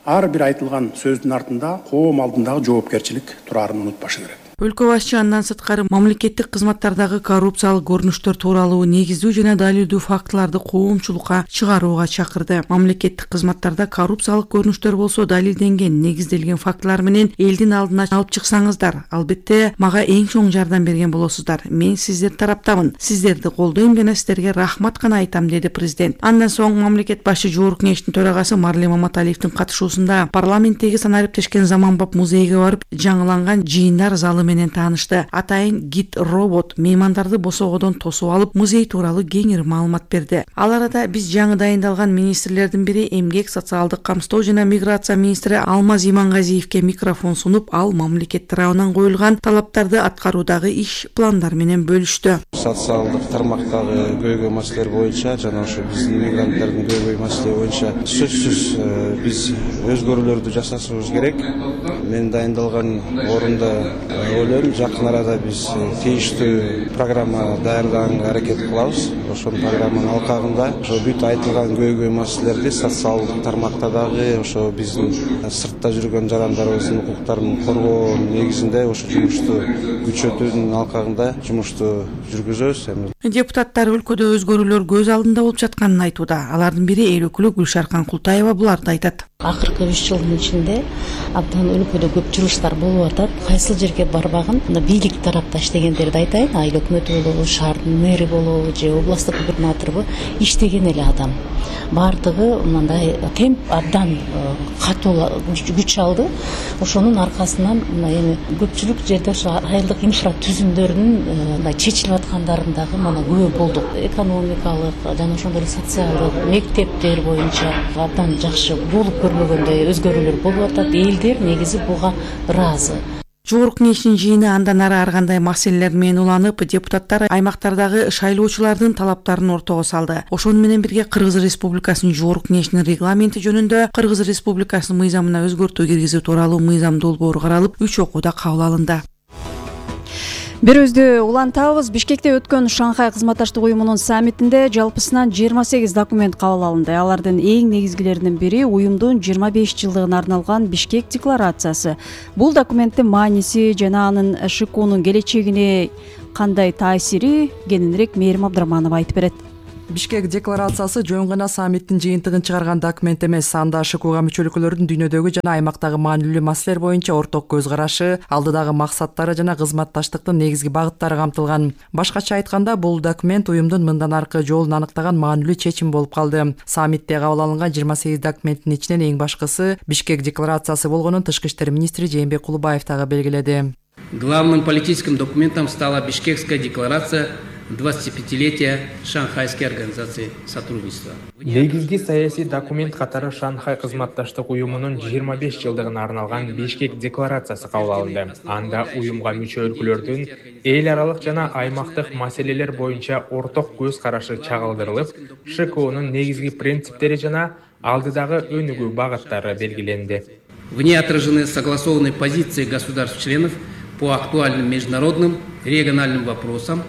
ар бир айтылган сөздүн артында коом алдындагы жоопкерчилик турарын унутпашы керек. Өлкө башчы андан сырткары мамлекеттик кызматтардагы коррупциялык көрүнүштөр тууралуу негиздүү жана далилдүү фактыларды коомчулукка чыгарууга чакырды. Мамлекеттик кызматтарда коррупциялык көрүнүштөр болсо далилденген, негизделген фактылар менен элдин алдына алып чыксаңыздар, албетте мага эң чоң жардам берген болосуздар. Мен сиздер тараптамын. Сиздерди колдойм жана сиздерге рахмат гана айтам, деди президент. Андан соң мамлекет башчы Жогорку кеңештин төрагасы Марлен Маматалиевдин катышуусунда парламенттеги санариптешкен заманбап музейге барып, жаңыланган жыйындар залы менен таанышты. Атайын гид робот меймандарды босогодон тосуп алып, музей тууралуу кеңири маалымат берди. Ал арада биз жаңы дайындалган министрлердин бири эмгек, социалдык камсыздоо жана миграция министри Алмаз Имангазиевке микрофон сунуп, ал мамлекет тарабынан коюлган талаптарды аткаруудагы иш пландар менен бөлүштү. Социалдык тармактагы көйгөй маселелер боюнча жана ошо биздин иммигранттардын көйгөй маселе боюнча сөзсүз биз өзгөрүүлөрдү жасашыбыз керек. Мен дайындалган орунда ойлойм, жакын арада биз тийиштүү программа даярдаганга аракет кылабыз. Ошол программанын алкагында ошо бүт айтылган көйгөй маселелерди социалдык тармакта дагы ошо биздин сыртта жүргөн жарандарыбыздын укуктарын коргоо негизинде ошо жумушту күчөтүүнүн алкагында жумушту жүргүзөбүз. Депутаттар өлкөдө өзгөрүүлөр көз алдында болуп жатканын айтууда. Алардын бири эл өкүлү Гүлшаркан Култаева буларды айтат. Акыркы 3 жылдын ичинде абдан өлкөдө көп жумуштар болуп атат. Кайсыл жерге барбагын бийлик тарапта иштегендерди айтайын. Айыл өкмөтү болобу, шаардын мэри болобу же областтык губернатору иштеген эле адам. Бардыгы мындай темп абдан катуу күч алды. Ошонун аркасынан эми көпчүлүк жерде ошо айылдык инфратүзүмдөрдүн чечилип аткандарын дагы жана күбө болдук. Экономикалык жана ошондой эле социалдык мектептер боюнча абдан жакшы болуп көрмөгөндөй өзгөрүүлөр болуп атат. Элдер негизи буга ыраазы. Жогорку кеңештин жыйыны андан ары ар кандай маселелер менен уланып, депутаттар аймактардагы шайлоочулардын талаптарын ортого салды. Ошону менен бирге Кыргыз Республикасынын Жогорку кеңешинин регламенти жөнүндө Кыргыз Республикасынын мыйзамына өзгөртүү киргизүү тууралуу мыйзам долбоору каралып, 3 окууда кабыл алынды. Берүүбүздү улантабыз. Бишкекте өткөн Шанхай кызматташтык уюмунун саммитинде жалпысынан 28 документ кабыл алынды. Алардын эң негизгилеринин бири уюмдун 25 жылдыгына арналган Бишкек декларациясы. Бул документтин мааниси жана анын ШКУнун келечегине кандай таасири кененирээк Мээрим Абдыраманова айтып берет. Бишкек декларациясы жөн гана саммиттин жыйынтыгын чыгарган документ эмес, анда ШКУга мүчө өлкөлөрдүн дүйнөдөгү жана аймактагы маанилүү маселелер боюнча орток көз карашы, алдыдагы максаттары жана кызматташтыктын негизги багыттары камтылган. Башкача айтканда, бул документ уюмдун мындан аркы жолун аныктаган маанилүү чечим болуп калды. Саммитте кабыл алынган 28 документтин ичинен эң башкысы Бишкек декларациясы болгонун Тышкы иштер министри Жээнбек Кулубаев дагы белгиледи. Главным политическим документом стала Бишкекская декларация 25-летия Шанхайской организации сотрудничества. Негизги саясий документ катары Шанхай кызматташтык уюмунун 25 жылдыгына арналган Бишкек декларациясы кабыл алынды. Анда уюмга мүчө өлкөлөрдүн эл аралык жана аймактык маселелер боюнча орток көз карашы чагылдырылып, ШКУнун негизги принциптери жана алдыдагы өнүгүү багыттары белгиленди. В ней отражены согласованные позиции государств-членов по актуальным международным региональным вопросам.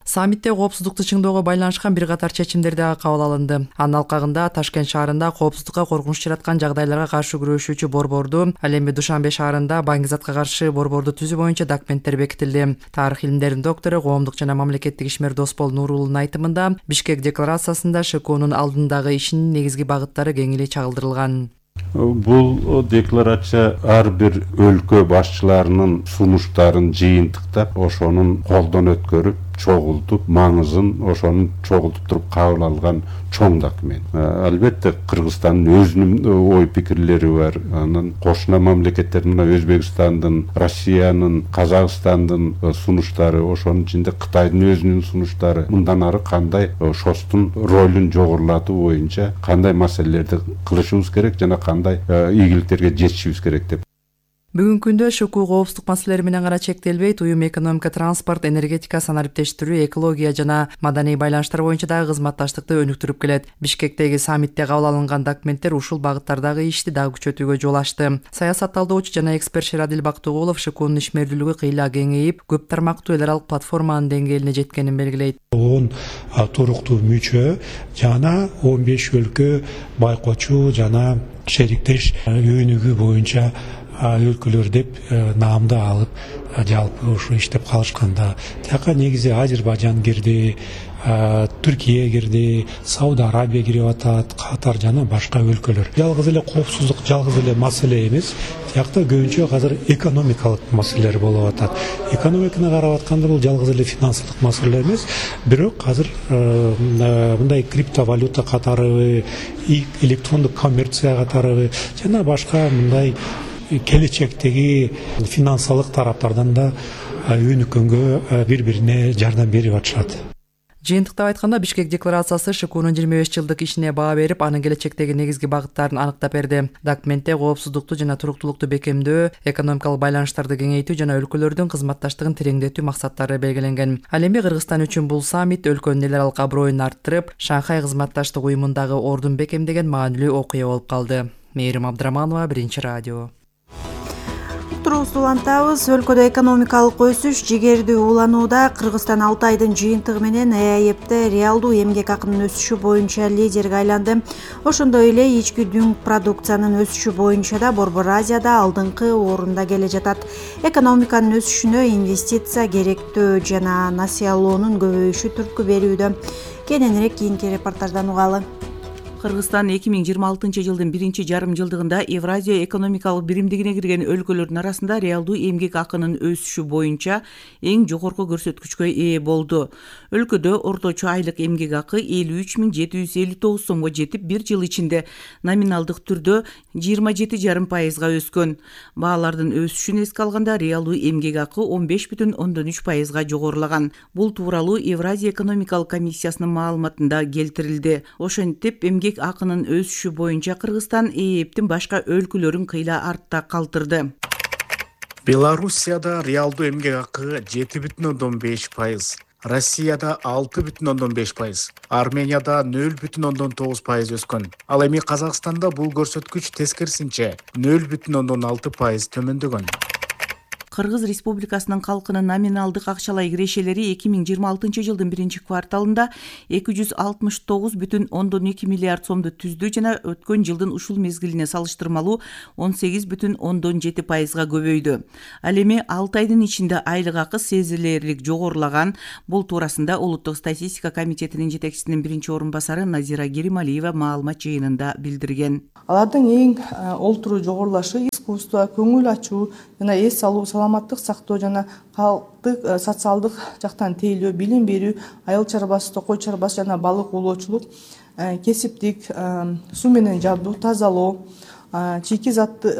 Саммитте коопсуздукту чыңдоого байланышкан бир катар чечимдер дагы кабыл алынды. Анын алкагында Ташкент шаарында коопсуздукка коркунуч жараткан жагдайларга каршы күрөшүүчү борборду, ал эми Душанбе шаарында баңгизатка каршы борборду түзүү боюнча документтер бекитилди. Тарых илимдеринин доктору, коомдук жана мамлекеттик ишмер Доспол Нурулунун айтымында, Бишкек декларациясында ШКУнун алдындагы ишинин негизги багыттары кең эле чагылдырылган. Бул декларация ар бир өлкө башчыларынын сунуштарын жыйынтыктап, ошонун колдон өткөрүп, чогултуп, маңызын ошонун чогултуп туруп кабыл алган чоң документ. Албетте Кыргызстандын өзүнүн ой пикирлери бар. Анан кошуна мамлекеттер мына Өзбекстандын, Россиянын, Казакстандын сунуштары, ошонун ичинде Кытайдын өзүнүн сунуштары, мындан ары кандай ШОСтун ролун жогорулатуу боюнча кандай маселелерди кылышыбыз керек жана кандай ийгиликтерге жетишибиз керек деп. Бүгүнкү күндө ШКУ коопсуздук маселелери менен гана чектелбейт, уюм экономика, транспорт, энергетика, санариптештирүү, экология жана маданий байланыштар боюнча дагы кызматташтыкты өнүктүрүп келет. Бишкектеги саммитте кабыл алынган документтер ушул багыттардагы ишти дагы күчөтүүгө жол ачты. Саясат талдоочу жана эксперт Шерадил Бактыгулов ШКУнун ишмердүүлүгү кыйла кеңейип, көп тармактуу эл аралык платформанын деңгээлине жеткенин белгилейт. 10 туруктуу мүчө жана 15 өлкө байкоочу жана шериктеш өнүгүү боюнча өлкөлөр деп наамды алып жалпы ушу иштеп калышканда, тияка негизи Азербайжан кирди, Түркия кирди, Сауд Арабия кирип атат, Катар жана башка өлкөлөр. Жалгыз эле коопсуздук, жалгыз эле маселе эмес, тиякта көбүнчө азыр экономикалык маселелер болуп атат. Экономиканы карап атканда бул жалгыз эле финансылык маселе эмес, бирок азыр мындай криптовалюта катары, электрондук коммерция катары жана башка мындай келечектеги финансылык тараптардан да өнүккөнгө бири-бирине жардам берип атышат. Жыйынтыктап айтканда, Бишкек декларациясы ШКУнун 25 жылдык ишине баа берип, анын келечектеги негизги багыттарын аныктап берди. Документте коопсуздукту жана туруктуулукту бекемдөө, экономикалык байланыштарды кеңейтүү жана өлкөлөрдүн кызматташтыгын тереңдетүү максаттары белгиленген. Ал эми Кыргызстан үчүн бул саммит өлкөнүн эл аралык аброюн арттырып, Шанхай кызматташтык уюмундагы ордун бекемдеген маанилүү окуя болуп калды. Мээрим Абдыраманова, Биринчи радио. Турубузду улантабыз. Өлкөдө экономикалык өсүш жигердүү уланууда. Кыргызстан 6 айдын жыйынтыгы менен ЭАЭПте реалдуу эмгек акынын өсүшү боюнча лидерге айланды. Ошондой эле ички дүң продукциянын өсүшү боюнча да Борбор Азияда алдыңкы орунда келе жатат. Экономиканын өсүшүнө инвестиция керектөө жана насыялоонун көбөйүшү түрткү берүүдө. Кененирээк кийинки репортаждан угалы. Кыргызстан 2026 жылдын биринчи жарым жылдыгында Евразия экономикалык биримдигине кирген өлкөлөрдүн арасында реалдуу эмгек акынын өсүшү боюнча эң жогорку көрсөткүчкө ээ болду. Өлкөдө орточо айлык эмгек акы 53.759 сомго жетип, бир жыл ичинде номиналдык түрдө 27,5%га өскөн. Баалардын өсүшүн эске алганда реалдуу эмгек акы 15,3%га жогорулаган. Бул тууралуу Евразия экономикалык комиссиясынын маалыматында келтирилди. Ошентип, эмгек акынын өсүшү боюнча Кыргызстан ээптин башка өлкөлөрүн кыйла артта калтырды. Белоруссияда реалдуу эмгек акы 7,5%, Россияда 6,5%, Арменияда 0,9% өскөн. Ал эми Казакстанда бул көрсөткүч тескерисинче 0,6% төмөндөгөн. Кыргыз Республикасынын калкынын номиналдык акчалай кирешелери 2026 жылдын биринчи кварталында 269,2 миллиард сомду түздү жана өткөн жылдын ушул мезгилине салыштырмалуу 18,7%га көбөйдү. Ал эми 6 айдын ичинде айлык акы сезилерлик жогорулаган. Бул туурасында Улуттук статистика комитетинин жетекчисинин биринчи орун басары Назира Керималиева маалымат жыйынында билдирген. Алардын эң олтуруу жогорулашы искусство, көңүл ачуу жана эс алуу, саламаттык сактоо жана калктык социалдык жактан тейлөө, билим берүү, айыл чарбасы, токой чарбасы жана балык оолоочулук, кесиптик, суу менен жабдуу, тазалоо, чийки затты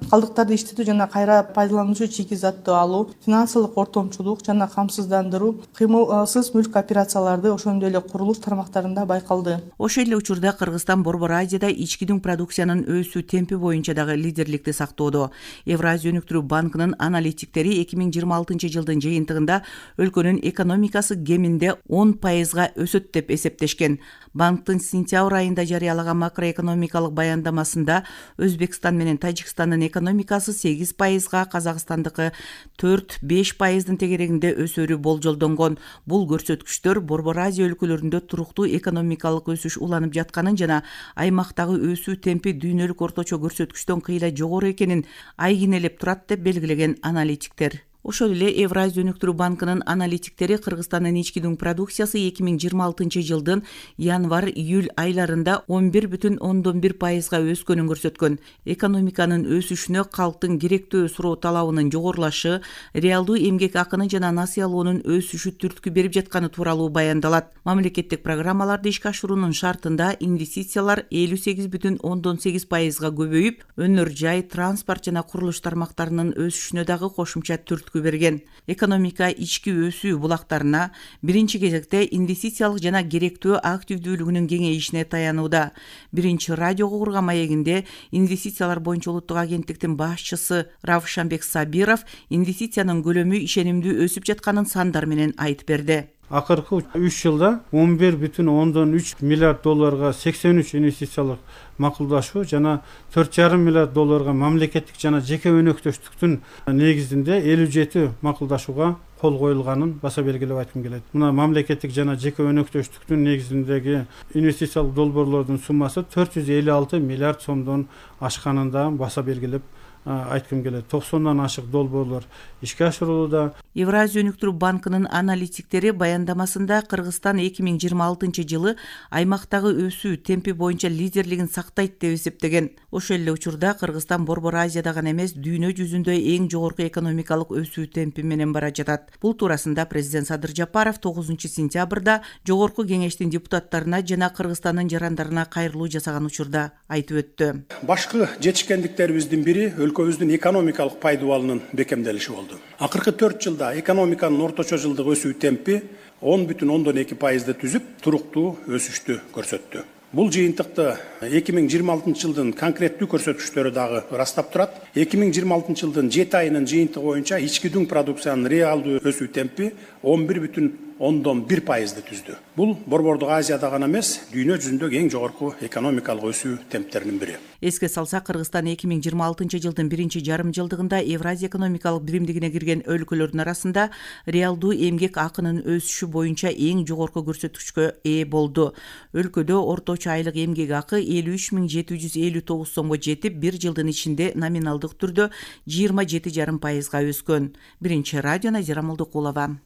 калдыктарды иштетүү жана кайра пайдалануучу чийки затты алуу, финансылык ортомчулук жана камсыздандыруу, кыймылсыз мүлк операцияларды, ошондой эле курулуш тармактарында байкалды. Ошол эле учурда Кыргызстан Борбор Азияда ички дүң продукциянын өсүү темпи боюнча дагы лидерликти сактоодо. Евразия өнүктүрүү банкынын аналитиктери 2026 жылдын жыйынтыгында өлкөнүн экономикасы кеминде 10%га өсөт деп эсептешкен. Банктын сентябрь айында жарыялаган макроэкономикалык баяндамасында Өзбекстан менен Тажикстандын экономикасы 8%га, Казакстандыкы 4-5%дын тегерегинде өсөрү болжолдонгон. Бул көрсөткүчтөр Борбор Азия өлкөлөрүндө туруктуу экономикалык өсүш уланып жатканын жана аймактагы өсүү темпи дүйнөлүк орточо көрсөткүчтөн кыйла жогору экенин айгинелеп турат деп белгилеген аналитиктер. Ошол эле Евразия өнүктүрүү банкынын аналитиктери Кыргызстандын ички дүң продукциясы 2026 жылдын январь-июль айларында 11,1%га өскөнүн көрсөткөн. Экономиканын өсүшүнө калктын керектүү суроо талабынын жогорулашы, реалдуу эмгек акынын жана насыялоонун өсүшү түрткү берип жатканы тууралуу баяндалат. Мамлекеттик программаларды ишке ашыруунун шартында инвестициялар 58,8%га көбөйүп, өнөр жай, транспорт жана курулуш тармактарынын өсүшүнө дагы кошумча түрткү берген. Экономика ички өсүү булактарына биринчи кезекте инвестициялык жана керектүү активдүүлүгүнүн кеңейишине таянууда. Биринчи радиого курган маегинде инвестициялар боюнча улуттук агенттиктин башчысы Равшанбек Сабиров инвестициянын көлөмү ишенимдүү өсүп жатканын сандар менен айтып берди. Акыркы 3 жылда 11,3 миллиард долларга 83 инвестициялык макулдашуу жана 4,5 миллиард долларга мамлекеттик жана жеке өнөктөштүктүн негизинде 57 макулдашууга кол коюлганын баса белгилеп айткым келет. Мына мамлекеттик жана жеке өнөктөштүктүн негизиндеги инвестициялык долбоорлордун суммасы 456 миллиард сомдон ашканын да баса белгилеп айткым келет. 90-дан ашык долбоорлор ишке ашырылууда. Евразия өнүктүрүү банкынын аналитиктери баяндамасында Кыргызстан 2026 жылы аймактагы өсүү темпи боюнча лидерлигин сактайт деп эсептеген. Ошол эле учурда Кыргызстан Борбор Азияда гана эмес, дүйнө жүзүндө эң жогорку экономикалык өсүү темпи менен бара жатат. Бул туурасында президент Садыр Жапаров 9 сентябрда жогорку кеңештин депутаттарына жана Кыргызстандын жарандарына кайрылуу жасаган учурда айтып өттү. Башкы жетишкендиктерибиздин бири өлкөбүздүн экономикалык пайдубалынын бекемделиши болду. Акыркы 4 жылда экономиканын орточо жылдык өсүү темпи 10,2%ды түзүп, туруктуу өсүштү көрсөттү. Бул жыйынтыкты 2026 жылдын конкреттүү көрсөткүчтөрү дагы ырастап турат. 2026 жылдын 7 айынын жыйынтыгы боюнча ички дүң продукциянын реалдуу өсүү темпи 11,1%ды түздү. Бул Борбордук Азияда гана эмес, дүйнө жүзүндөгү эң жогорку экономикалык өсүү темптеринин бири. Эске салса, Кыргызстан 2026 жылдын биринчи жарым жылдыгында Евразия экономикалык биримдигине кирген өлкөлөрдүн арасында реалдуу эмгек акынын өсүшү боюнча эң жогорку көрсөткүчкө ээ болду. Өлкөдө орточо айлык эмгек акы 53.759 сомго жетип, бир жылдын ичинде номиналдык түрдө 27,5%га өскөн. Биринчи радио, Назира Молдокулова.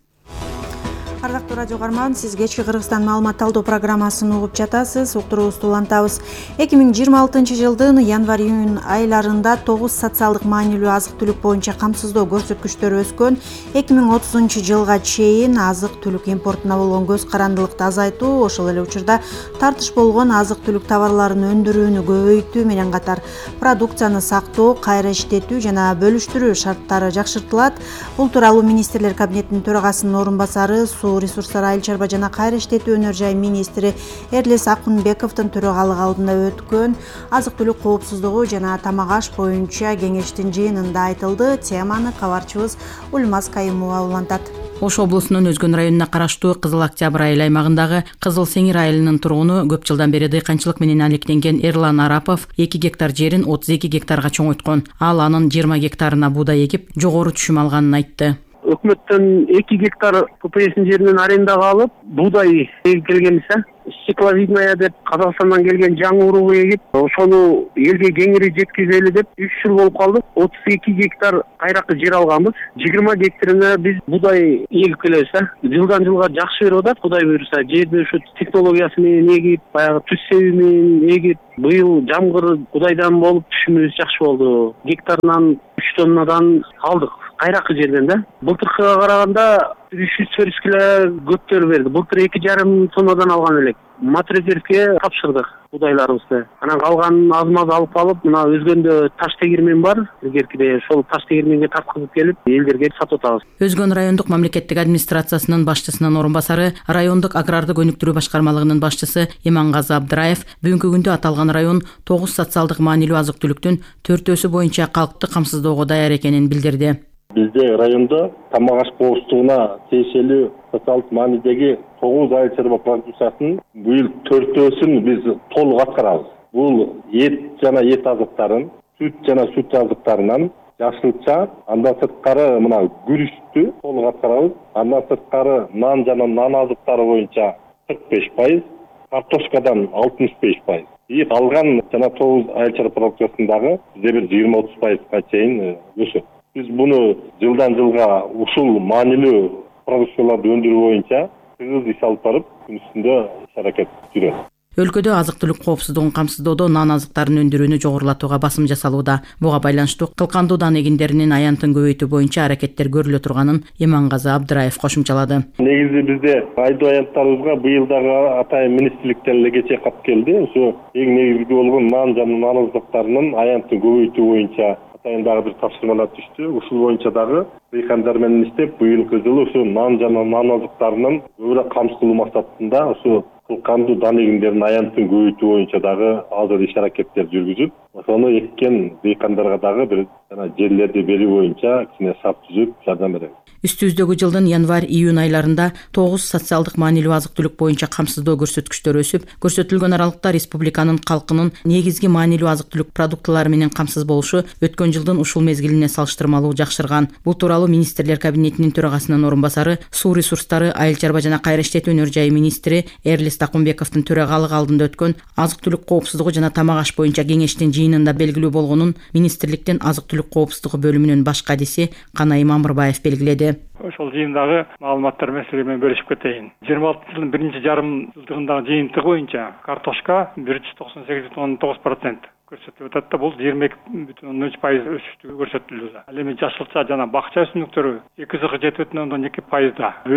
Ардактуу радио угарман, сиз кечки Кыргызстан маалымат талдоо программасын угуп жатасыз. Уктуруубузду улантабыз. 2026 жылдын январь-июнь айларында 9 социалдык маанилүү азык-түлүк боюнча камсыздоо көрсөткүчтөрү өскөн. 2030 жылга чейин азык-түлүк импортуна болгон көз карандылыкты азайтуу, ошол эле учурда тартыш болгон азык-түлүк товарларын өндүрүүнү көбөйтүү менен катар продукцияны сактоо, кайра иштетүү жана бөлүштүрүү шарттары жакшыртылат. Бул тууралуу министрлер кабинетинин төрагасынын орун басары, суу ресурстары, айыл чарба жана кайра иштетүү өнөр жай министри Эрлис Акунбековдун төрагалыгы алдында өткөн азык-түлүк коопсуздугу жана тамак аш боюнча кеңештин жыйынында айтылды. Теманы кабарчыбыз Ульмаз Кайымова улантат. Ош облусунун Өзгөн районуна караштуу Кызыл Октябрь айыл аймагындагы Кызыл Сеңир айылынын тургуну көп жылдан бери дыйканчылык менен алектенген Эрлан Арапов 2 гектар жерин 32 гектарга чоңойткон. Ал анын 20 гектарына буудай эгип, жогору түшүм алганын айтты. Өкмөттөн 2 гектар ППС'ин жеринен арендага алып, буудай эгип келгенбиз. Стекловидная деп Казакстандан келген жаңы уруу эгип, ошону элге кеңири жеткизели деп 3 жыл болуп калды. 32 гектар кайракы жер алганбыз. 20 гектарына биз буудай эгип келебиз. Жылдан жылга жакшы берип атат, Кудай буйруса. Жерди ушу технологиясы менен эгип, баягы түз себи менен эгип, быйыл жамгыр Кудайдан болуп түшүмүбүз жакшы болду. Гектарынан 3 тоннадан алдык. Кайракы жерден да. Былтыркыга караганда 300 кило көптөр берди. Былтыр 2,5 тоннадан алган элек. Матрезервке тапшырдык будайларыбызды. Анан калганын аз-маз алып калып, мына Өзгөндө таш тегирмен бар. Илгеркиде ошол таш тегирменге тарткызып келип, элдерге сатып атабыз. Өзгөн райондук мамлекеттик администрациясынын башчысынын орун басары, райондук агрардык өнүктүрүү башкармалыгынын башчысы Имангазы Абдыраев бүгүнкү күндө аталган район 9 социалдык маанилүү азык-түлүктүн 4-өсү боюнча калкты камсыздоого даяр экенин билдирди. Бизде райондо тамак аш коопсуздугуна тиешелүү социалдык маанидеги 9 айыл чарба продукциясынын быйыл 4-өсүн биз толук аткарабыз. Бул эт жана эт азыктарын, сүт жана сүт азыктарынан жашылча, андан сырткары мына күрүчтү толук аткарабыз. Андан сырткары нан жана нан азыктары боюнча 45%, картошкадан 65%. И калган жана 9 айыл чарба продукциясындагы бизде бир 20-30%га чейин өсөт. Биз буну жылдан жылга ушул маанилүү продукцияларды өндүрүү боюнча тыгыз иш алып барып, күн үстүндө иш-аракет жүрөт. Өлкөдө азык-түлүк коопсуздугун камсыздоодо нан азыктарын өндүрүүнү жогорулатууга басым жасалууда. Буга байланыштуу кылкандуу дан эгиндеринин аянтын көбөйтүү боюнча аракеттер көрүлө турганын Имангазы Абдыраев кошумчалады. Негизи бизде айдоо аянттарыбызга быйыл дагы атайын министрликтен эле кечээ кат келди. Ошо эң негизги болгон нан жана нан азыктарынын аянтын көбөйтүү боюнча атайын дагы бир тапшырмалар түштү. Ушул боюнча дагы дыйкандар менен иштеп, быйылкы жылы ушу нан жана нан азыктарынын көбүрөөк камсыздоо максатында ушу кылкандуу дан эгиндеринин аянтын көбөйтүү боюнча дагы азыр иш-аракеттер жүргүзүп, ошону эккен дыйкандарга дагы бир жана жерлерди берүү боюнча кичине шарт түзүп жардам беребиз. Үстүбүздөгү жылдын январь-июнь айларында 9 социалдык маанилүү азык-түлүк боюнча камсыздоо көрсөткүчтөрү өсүп, көрсөтүлгөн аралыкта республиканын калкынын негизги маанилүү азык-түлүк продуктылары менен камсыз болушу өткөн жылдын ушул мезгилине салыштырмалуу жакшырган. Бул тууралуу министрлер кабинетинин төрагасынын орун басары, суу ресурстары, айыл чарба жана кайра иштетүү өнөр жайы министри Эрлис Акунбековдун төрагалыгы алдында өткөн азык-түлүк коопсуздугу жана тамак аш боюнча кеңештин жыйынында белгилүү болгонун министрликтин азык-түлүк коопсуздугу бөлүмүнүн баш кадиси Канай Мамырбаев белгиледи. Ошол жыйындагы маалыматтар менен силер менен бөлүшүп кетейин. 26 жылдын биринчи жарым жылдыгындагы жыйынтыгы боюнча картошка 198,9% көрсөтүлүп атат да, бул 22,3% өсүштү көрсөтүлүүдө. Ал эми жашылча жана бакча өсүмдүктөрү 2,7,2%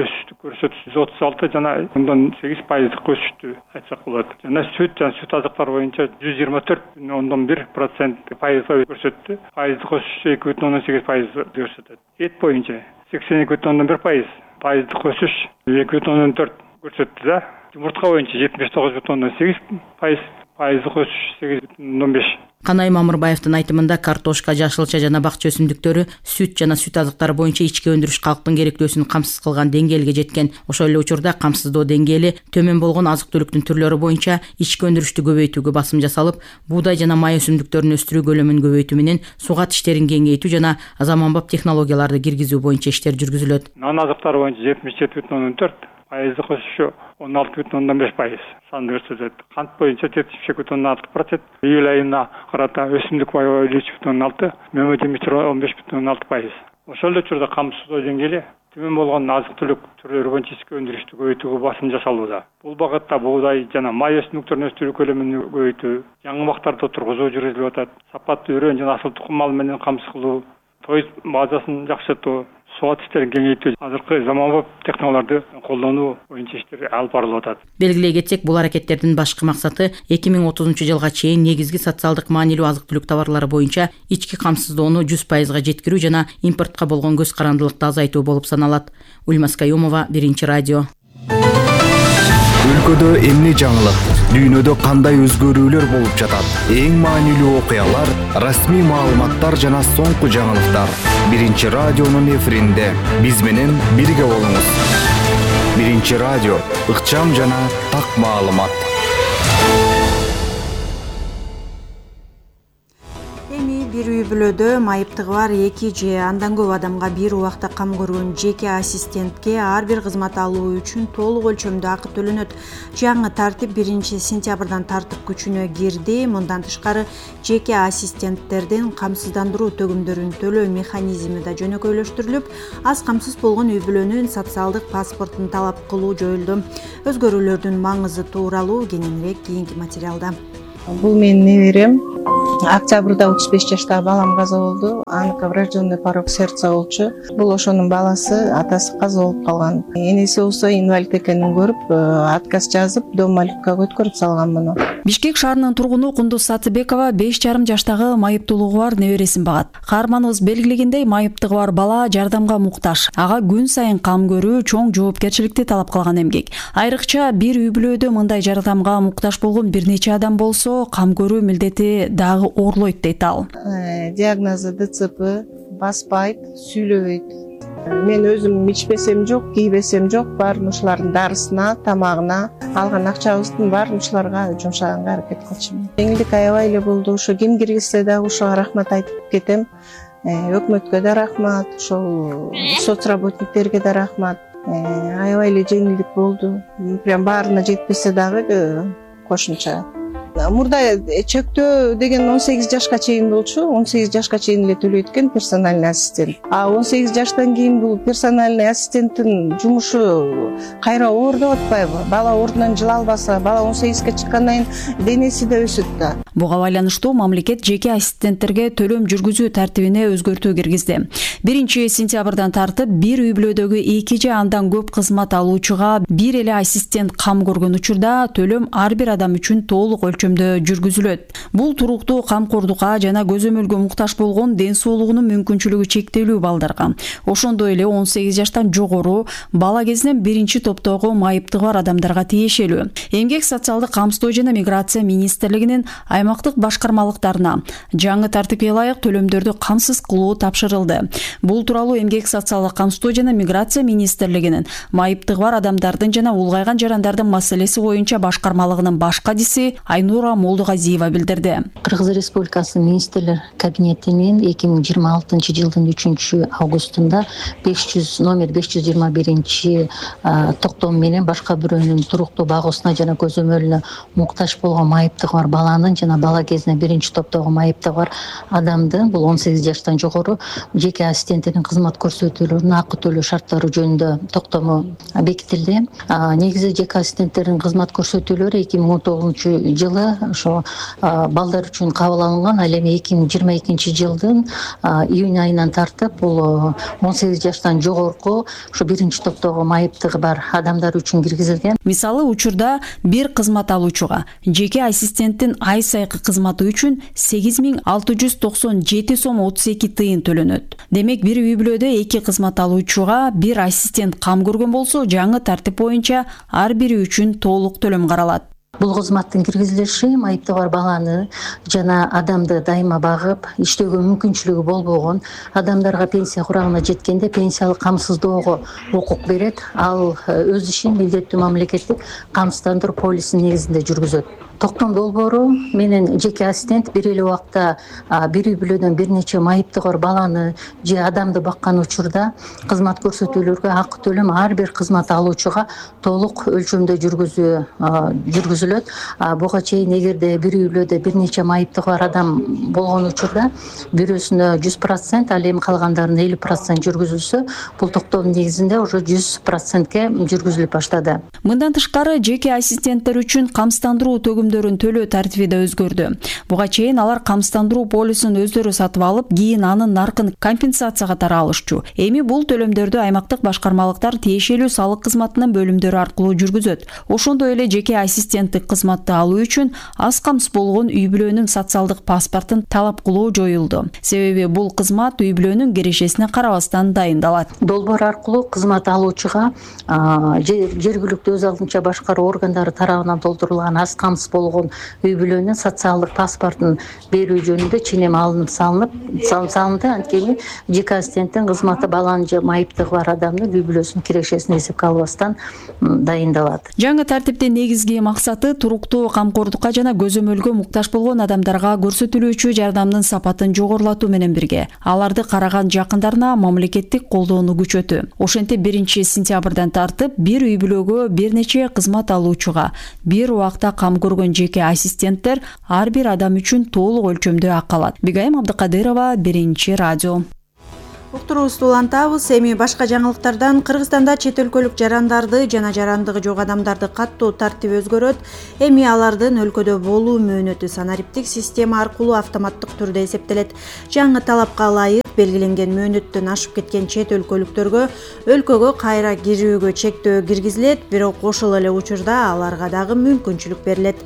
өсүштү көрсөтүп 136 жана 8% өсүштү айтсак болот. Жана сүт азыктары боюнча 124,1% көрсөттү. Пайыздык өсүш 2,8% көрсөтөт. Эт боюнча 82,1%, пайыздык өсүш 2,4 көрсөттү да. Жумуртка боюнча 79,8%, пайыздык өсүш 8,5. Канай Мамырбаевдин айтымында картошка, жашылча жана бакча өсүмдүктөрү, сүт жана сүт азыктары боюнча ички өндүрүш калктын керектөөсүн камсыз кылган деңгээлге жеткен. Ошол эле учурда камсыздоо деңгээли төмөн болгон азык-түлүктүн түрлөрү боюнча ички өндүрүштү көбөйтүүгө басым жасалып, буудай жана май өсүмдүктөрүн өстүрүү көлөмүн көбөйтүү менен сугат иштерин кеңейтүү жана заманбап технологияларды киргизүү боюнча иштер жүргүзүлөт. Нан азыктары боюнча 77,4%, пайыздык өсүшү 16,5% санды көрсөтөт. Кант боюнча 72,6%, июль айына карата өсүмдүк баары 3,6%, мөмө жемиштер 15,6%. Ошол эле учурда камсыздоо деңгээли төмөн болгон азык түлүк түрлөрү боюнча ички өндүрүштү көбөйтүүгө басым жасалууда. Бул багытта буудай жана май өсүмдүктөрүн өстүрүү көлөмүн көбөйтүү, жаңы бактарды отургузуу жүргүзүлүп атат. Сапаттуу өрөөн жана асыл тукум малы менен камсыз кылуу, тоюз базасын жакшыртуу, соо иштерин кеңейтүү, азыркы заманбап технологияларды колдонуу боюнча иштер алып барылып атат. Белгилей кетсек, бул аракеттердин башкы максаты 2030-жылга чейин негизги социалдык маанилүү азык-түлүк товарлары боюнча ички камсыздоону 100%га жеткирүү жана импортко болгон көз карандылыкты азайтуу болуп саналат. Ульмас Каюмова, Биринчи радио. Өлкөдө эмне жаңылык, дүйнөдө кандай өзгөрүүлөр болуп жатат? Эң маанилүү окуялар, расмий маалыматтар жана соңку жаңылыктар. Биринчи радионун эфиринде биз менен бирге болуңуз. Биринчи радио, ыкчам жана так маалымат. Бир үй-бүлөдө майыптыгы бар 2 же андан көп адамга бир убакта кам көргөн жеке ассистентке ар бир кызмат алуу үчүн толук өлчөмдө акы төлөнөт. Жаңы тартип 1-сентябрдан тартып күчүнө кирди. Мындан тышкары жеке ассистенттердин камсыздандыруу төгүмдөрүн төлөө механизми да жөнөкөйлөштүрүлүп, аз камсыз болгон үй-бүлөнүн социалдык паспортун талап кылуу жоюлду. Өзгөрүүлөрдүн маңызы тууралуу кененирээк кийинки материалда. Бул менин неберем. Октябрда 35 жаштагы балам каза болду. Аныкы врожденный порок сердца болчу. Бул ошонун баласы, атасы каза болуп калган. Энеси болсо инвалид экенин көрүп, отказ жазып, дом малюткага өткөрүп салган муну. Бишкек шаарынын тургуну Кундуз Сатыбекова 5,5 жаштагы майыптуулугу бар небересин багат. Каарманыбыз белгилегендей, майыптыгы бар бала жардамга муктаж. Ага күн сайын кам көрүү чоң жоопкерчиликти талап кылган эмгек. Айрыкча бир үй-бүлөдө мындай жардамга муктаж болгон бир нече адам болсо, кам көрүү милдети дагы ooрлойт дейт ал. Диагнозу ДЦП, баспайт, сүйлөбөйт. Мен өзүм ичпесем жок, кийбесем жок, баарын ушулардын дарысына, тамагына, алган акчабыздын баарын ушуларга жумшаганга аракет кылчумун. Жеңилдик аябай эле болду. Ошо ким киргизсе дагы ошого рахмат айтып кетем. Өкмөткө да рахмат, ошол соцработниктерге да рахмат. Аябай эле жеңилдик болду. Прям баарына жетпесе дагы кошумча. Мурда чектөө деген 18 жашка чейин болчу. 18 жашка чейин эле төлөйт экен персональный ассистент. А 18 жаштан кийин бул персональный ассистенттин жумушу кайра оордоп атпайбы? Бала ордунан жыла албаса, бала 18ге чыккандан кийин денеси да өсөт да. Буга байланыштуу мамлекет жеке ассистенттерге төлөм жүргүзүү тартибине өзгөртүү киргизди. 1-сентябрдан тартып бир үй-бүлөдөгү 2 же андан көп кызмат алуучуга бир эле ассистент кам көргөн учурда төлөм ар бир адам үчүн толук өлчөмдө жүргүзүлөт. Бул туруктуу камкордукка жана көзөмөлгө муктаж болгон ден соолугунун мүмкүнчүлүгү чектелүү балдарга, ошондой эле 18 жаштан жогору бала кезинен 1-топтогу майыптыгы бар адамдарга тиешелүү. Эмгек социалдык камсыздоо жана миграция министрлигинин аймактык башкармалыктарына жаңы тартипке ылайык төлөмдөрдү камсыз кылуу тапшырылды. Бул тууралуу Эмгек социалдык камсыздоо жана миграция министрлигинин майыптыгы бар адамдардын жана улгайган жарандардын маселеси боюнча башкармалыгынын баш кадиси Айнура Молдугазиева билдирди. Кыргыз Республикасынын министрлер кабинетинин 2026-жылдын 3-августунда номер 521 токтом менен башка бирөөнүн туруктуу багуусуна жана көзөмөлүнө муктаж болгон майыптыгы бар баланын жана бала кезинен 1-топтогу майыптыгы бар адамдын, бул 18 жаштан жогору жеке ассистенттердин кызмат көрсөтүүлөрүнүн акы төлөө шарттары жөнүндө токтому бекитилди. Негизи жеке ассистенттердин кызмат көрсөтүүлөрү 2019-жылы ошо балдар үчүн кабыл алынган. Ал эми 2022-жылдын июнь айынан тартып бул 18 жаштан жогорку ошо 1-топтогу майыптыгы бар адамдар үчүн киргизилген. Мисалы, учурда бир кызмат алуучуга жеке ассистенттин ай сайкы кызматы үчүн 8697 сом 32 тыйын төлөнөт. Демек, бир үй-бүлөдө 2 кызмат алуучуга бир ассистент кам көргөн болсо, жаңы тартип боюнча ар бири үчүн толук төлөм каралат. Бул кызматтын киргизилиши майыптыгы бар баланы жана адамды дайыма багып, иштөөгө мүмкүнчүлүгү болбогон адамдарга пенсия курагына жеткенде пенсиялык камсыздоого укук берет. Ал өз ишин милдеттүү мамлекеттик камсыздандыруу полисинин негизинде жүргүзөт. токтом долбоору менен жеке ассистент бир эле убакта бир үй бүлөдөн бир нече майыптыгор баланы же адамды баккан учурда кызмат көрсөтүүлөргө акы төлөм ар бир кызмат алуучуга толук өлчөмдө жүргүзүлөт. Буга чейин эгерде бир үй бүлөдө бир нече майыптыгы бар адам болгон учурда бирөөсүнө 100%, ал эми калгандарына 50% жүргүзүлсө, бул токтом негизинде уже 100%ке жүргүзүлүп баштады. Мындан тышкары жеке ассистенттер үчүн камсыздандыруу төгүмдөрүн төлөө тартиби да өзгөрдү. Буга чейин алар камсыздандыруу полисин өздөрү сатып алып, кийин анын наркын компенсация катары алышчу. Эми бул төлөмдөрдү аймактык башкармалыктар тиешелүү салык кызматынын бөлүмдөрү аркылуу жүргүзөт. Ошондой эле жеке ассистенттик кызматты алуу үчүн аз камсыз болгон үй бүлөнүн социалдык паспортун талап кылуу жоюлду. Себеби бул кызмат үй бүлөнүн кирешесине карабастан дайындалат. Долбоор аркылуу кызмат алуучуга жергиликтүү өз алдынча башкаруу органдары тарабынан толтурулган аз камсыз болгон үй бүлөнүн социалдык паспортун берүү жөнүндө ченем алынып салынды. Анткени жеке ассистенттин кызматы баланын же майыптыгы бар адамдын үй бүлөсүнүн кирешесин эсепке албастан дайындалат. Жаңы тартиптин негизги максаты туруктуу камкордукка жана көзөмөлгө муктаж болгон адамдарга көрсөтүлүүчү жардамдын сапатын жогорулатуу менен бирге аларды караган жакындарына мамлекеттик колдоону күчөтүү. Ошентип 1-сентябрдан тартып бир үй бүлөгө бир нече кызмат алуучуга бир убакта кам көргөн жеке ассистенттер ар бир адам үчүн толук өлчөмдө акы алат. Бигайым Абдыкадырова, Биринчи радио. Уктуруубузду улантабыз. Эми башка жаңылыктардан Кыргызстанда чет өлкөлүк жарандарды жана жарандыгы жок адамдарды каттоо тартиби өзгөрөт. Эми алардын өлкөдө болуу мөөнөтү санариптик система аркылуу автоматтык түрдө эсептелет. Жаңы талапка ылайык белгиленген мөөнөттөн ашып кеткен чет өлкөлүктөргө өлкөгө кайра кирүүгө чектөө киргизилет, бирок ошол эле учурда аларга дагы мүмкүнчүлүк берилет.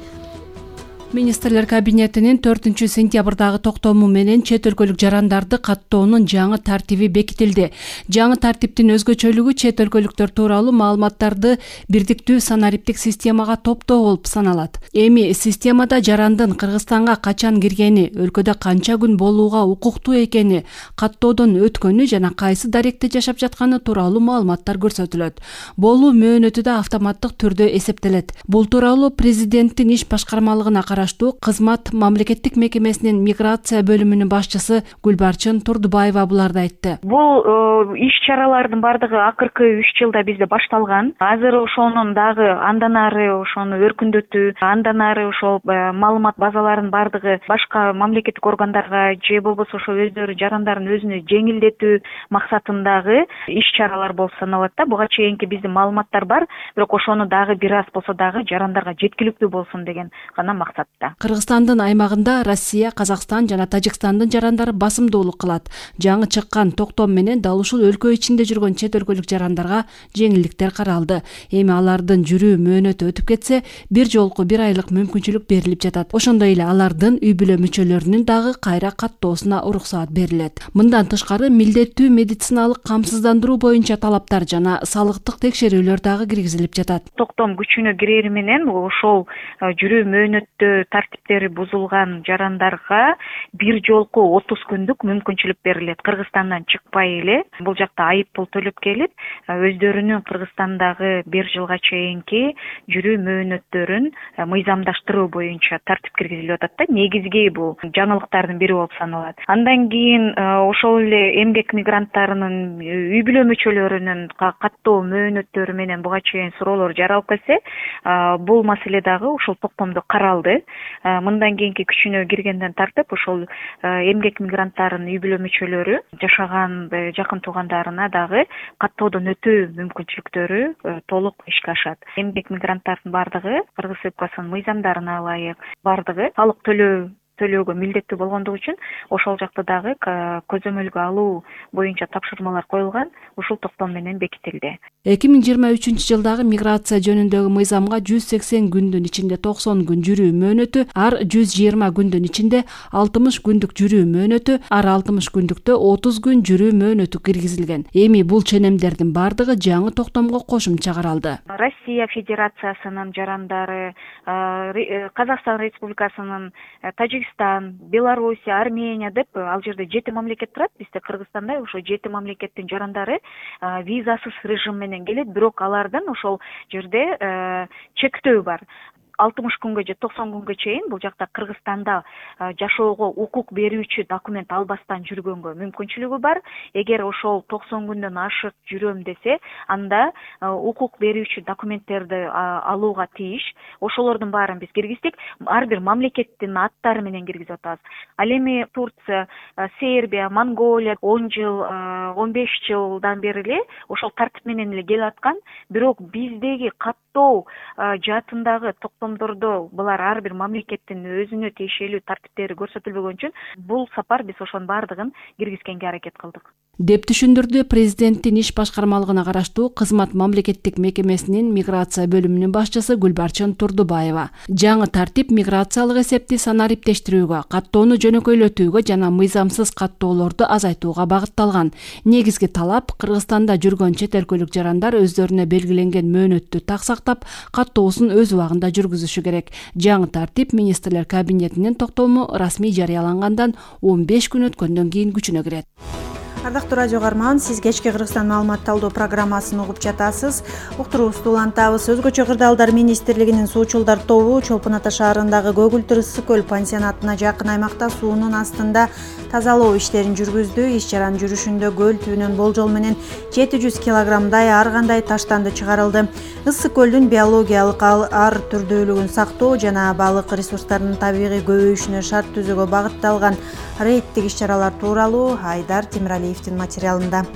Министрлер кабинетинин 4-сентябрдагы токтому менен чет өлкөлүк жарандарды каттоонун жаңы тартиби бекитилди. Жаңы тартиптин өзгөчөлүгү чет өлкөлүктөр тууралуу маалыматтарды бирдиктүү санариптик системага топтоо болуп саналат. Эми системада жарандын Кыргызстанга качан киргени, өлкөдө канча күн болууга укуктуу экени, каттоодон өткөнү жана кайсы даректе жашап жатканы тууралуу маалыматтар көрсөтүлөт. Болуу мөөнөтү да автоматтык түрдө эсептелет. Бул тууралуу президенттин иш башкармалыгына кызмат мамлекеттик мекемесинин миграция бөлүмүнүн башчысы Гүлбарчын Турдубаева буларды айтты. Бул иш-чаралардын бардыгы акыркы 3 жылда бизде башталган. Азыр ошонун дагы андан ары ошону өркүндөтүү, андан ары ошол маалымат базаларынын бардыгы башка мамлекеттик органдарга же болбосо ошо өздөрү жарандардын өзүнө жеңилдетүү максатындагы иш-чаралар болуп саналат да. Буга чейинки биздин маалыматтар бар, бирок ошону дагы бир аз болсо дагы жарандарга жеткиликтүү болсун деген гана максат. Кыргызстандын аймагында Россия, Казакстан жана Тажикстандын жарандары басымдуулук кылат. Жаңы чыккан токтом менен дал ушул өлкө ичинде жүргөн чет өлкөлүк жарандарга жеңилдиктер каралды. Эми алардын жүрүү мөөнөтү өтүп кетсе, бир жолку 1 айлык мүмкүнчүлүк берилип жатат. Ошондой эле алардын үй бүлө мүчөлөрүнүн дагы кайра каттоосуна уруксаат берилет. Мындан тышкары милдеттүү медициналык камсыздандыруу боюнча талаптар жана салыктык текшерүүлөр дагы киргизилип жатат. Токтом күчүнө кирери менен ошол жүрүү мөөнөттө тартиптери бузулган жарандарга бир жолку 30 күндүк мүмкүнчүлүк берилет. Кыргызстандан чыкпай эле бул жакта айып пул төлөп келип, өздөрүнүн Кыргызстандагы 1 жылга чейинки жүрүү мөөнөттөрүн мыйзамдаштыруу боюнча тартип киргизилип атат да. Негизги бул жаңылыктардын бири болуп саналат. Андан кийин ошол эле эмгек мигранттарынын үй бүлө мүчөлөрүнүн каттоо мөөнөттөрү менен буга чейин суроолор жаралып келсе, бул маселе дагы ушул токтомдо каралды. Мындан кийинки күчүнө киргенден тартып ошол эмгек мигранттарынын үй бүлө мүчөлөрү жашаган жакын туугандарына дагы каттоодон өтүү мүмкүнчүлүктөрү толук ишке ашат. Эмгек мигранттардын бардыгы Кыргыз Республикасынын мыйзамдарына ылайык бардыгы салык төлөөгө милдеттүү болгондугу үчүн ошол жакта дагы көзөмөлгө алуу боюнча тапшырмалар коюлган, ушул токтом менен бекитилди. 2023-жылдагы миграция жөнүндөгү мыйзамга 180 күндүн ичинде 90 күн жүрүү мөөнөтү, ар 120 күндүн ичинде 60 күндүк жүрүү мөөнөтү, ар 60 күндүктө 30 күн жүрүү мөөнөтү киргизилген. Эми бул ченемдердин бардыгы жаңы токтомго кошумча каралды. Россия Федерациясынын жарандары, Казакстан Республикасынын, Тажикстан, Белоруссия, Армения деп ал жерде 7 мамлекет турат. Бизде Кыргызстанда ошо 7 мамлекеттин жарандары визасыз режим менен келет, бирок алардын ошол жерде чектөө бар. 60 күнгө же 90 күнгө чейин бул жакта Кыргызстанда жашоого укук берүүчү документ албастан жүргөнгө мүмкүнчүлүгү бар. Эгер ошол 90 күндөн ашык жүрөм десе, анда укук берүүчү документтерди алууга тийиш. Ошолордун баарын биз киргиздик. Ар бир мамлекеттин аттары менен киргизип атабыз. Ал эми Турция, Сербия, Монголия 10 жыл, 15 жылдан бери эле ошол тартип менен эле келип аткан. Бирок биздеги каттоо жаатындагы токтомдордо булар ар бир мамлекеттин өзүнө тиешелүү тартиптери көрсөтүлбөгөн үчүн бул сапар биз ошонун баардыгын киргизгенге аракет кылдык деп түшүндүрдү президенттин иш башкармалыгына караштуу кызмат мамлекеттик мекемесинин миграция бөлүмүнүн башчысы Гүлбарчын Турдубаева. Жаңы тартип миграциялык эсепти санариптештирүүгө, каттоону жөнөкөйлөтүүгө жана мыйзамсыз каттоолорду азайтууга багытталган. Негизги талап Кыргызстанда жүргөн чет өлкөлүк жарандар өздөрүнө белгиленген мөөнөттү так сактап, каттоосун өз убагында жүргүзүшү керек. Жаңы тартип министрлер кабинетинин токтому расмий жарыялангандан 15 күн өткөндөн кийин күчүнө кирет. Ардактуу радио каарман, сиз кечки Кыргызстан маалымат талдоо программасын угуп жатасыз. Уктуруубузду улантабыз. Өзгөчө кырдаалдар министрлигинин суучулдар тобу Чолпон Ата шаарындагы Көгүлтүр ысык көл пансионатына жакын аймакта суунун астында тазалоо иштерин жүргүздү. Иш чаранын жүрүшүндө көл түбүнөн болжол менен 700 килограммдай ар кандай таштанды чыгарылды. Ысык көлдүн биологиялык ар түрдүүлүгүн сактоо жана балык ресурстарынын табигый көбөйүшүнө шарт түзүүгө багытталган рейдтик иш-чаралар тууралуу Айдар Темиралиевдин материалында.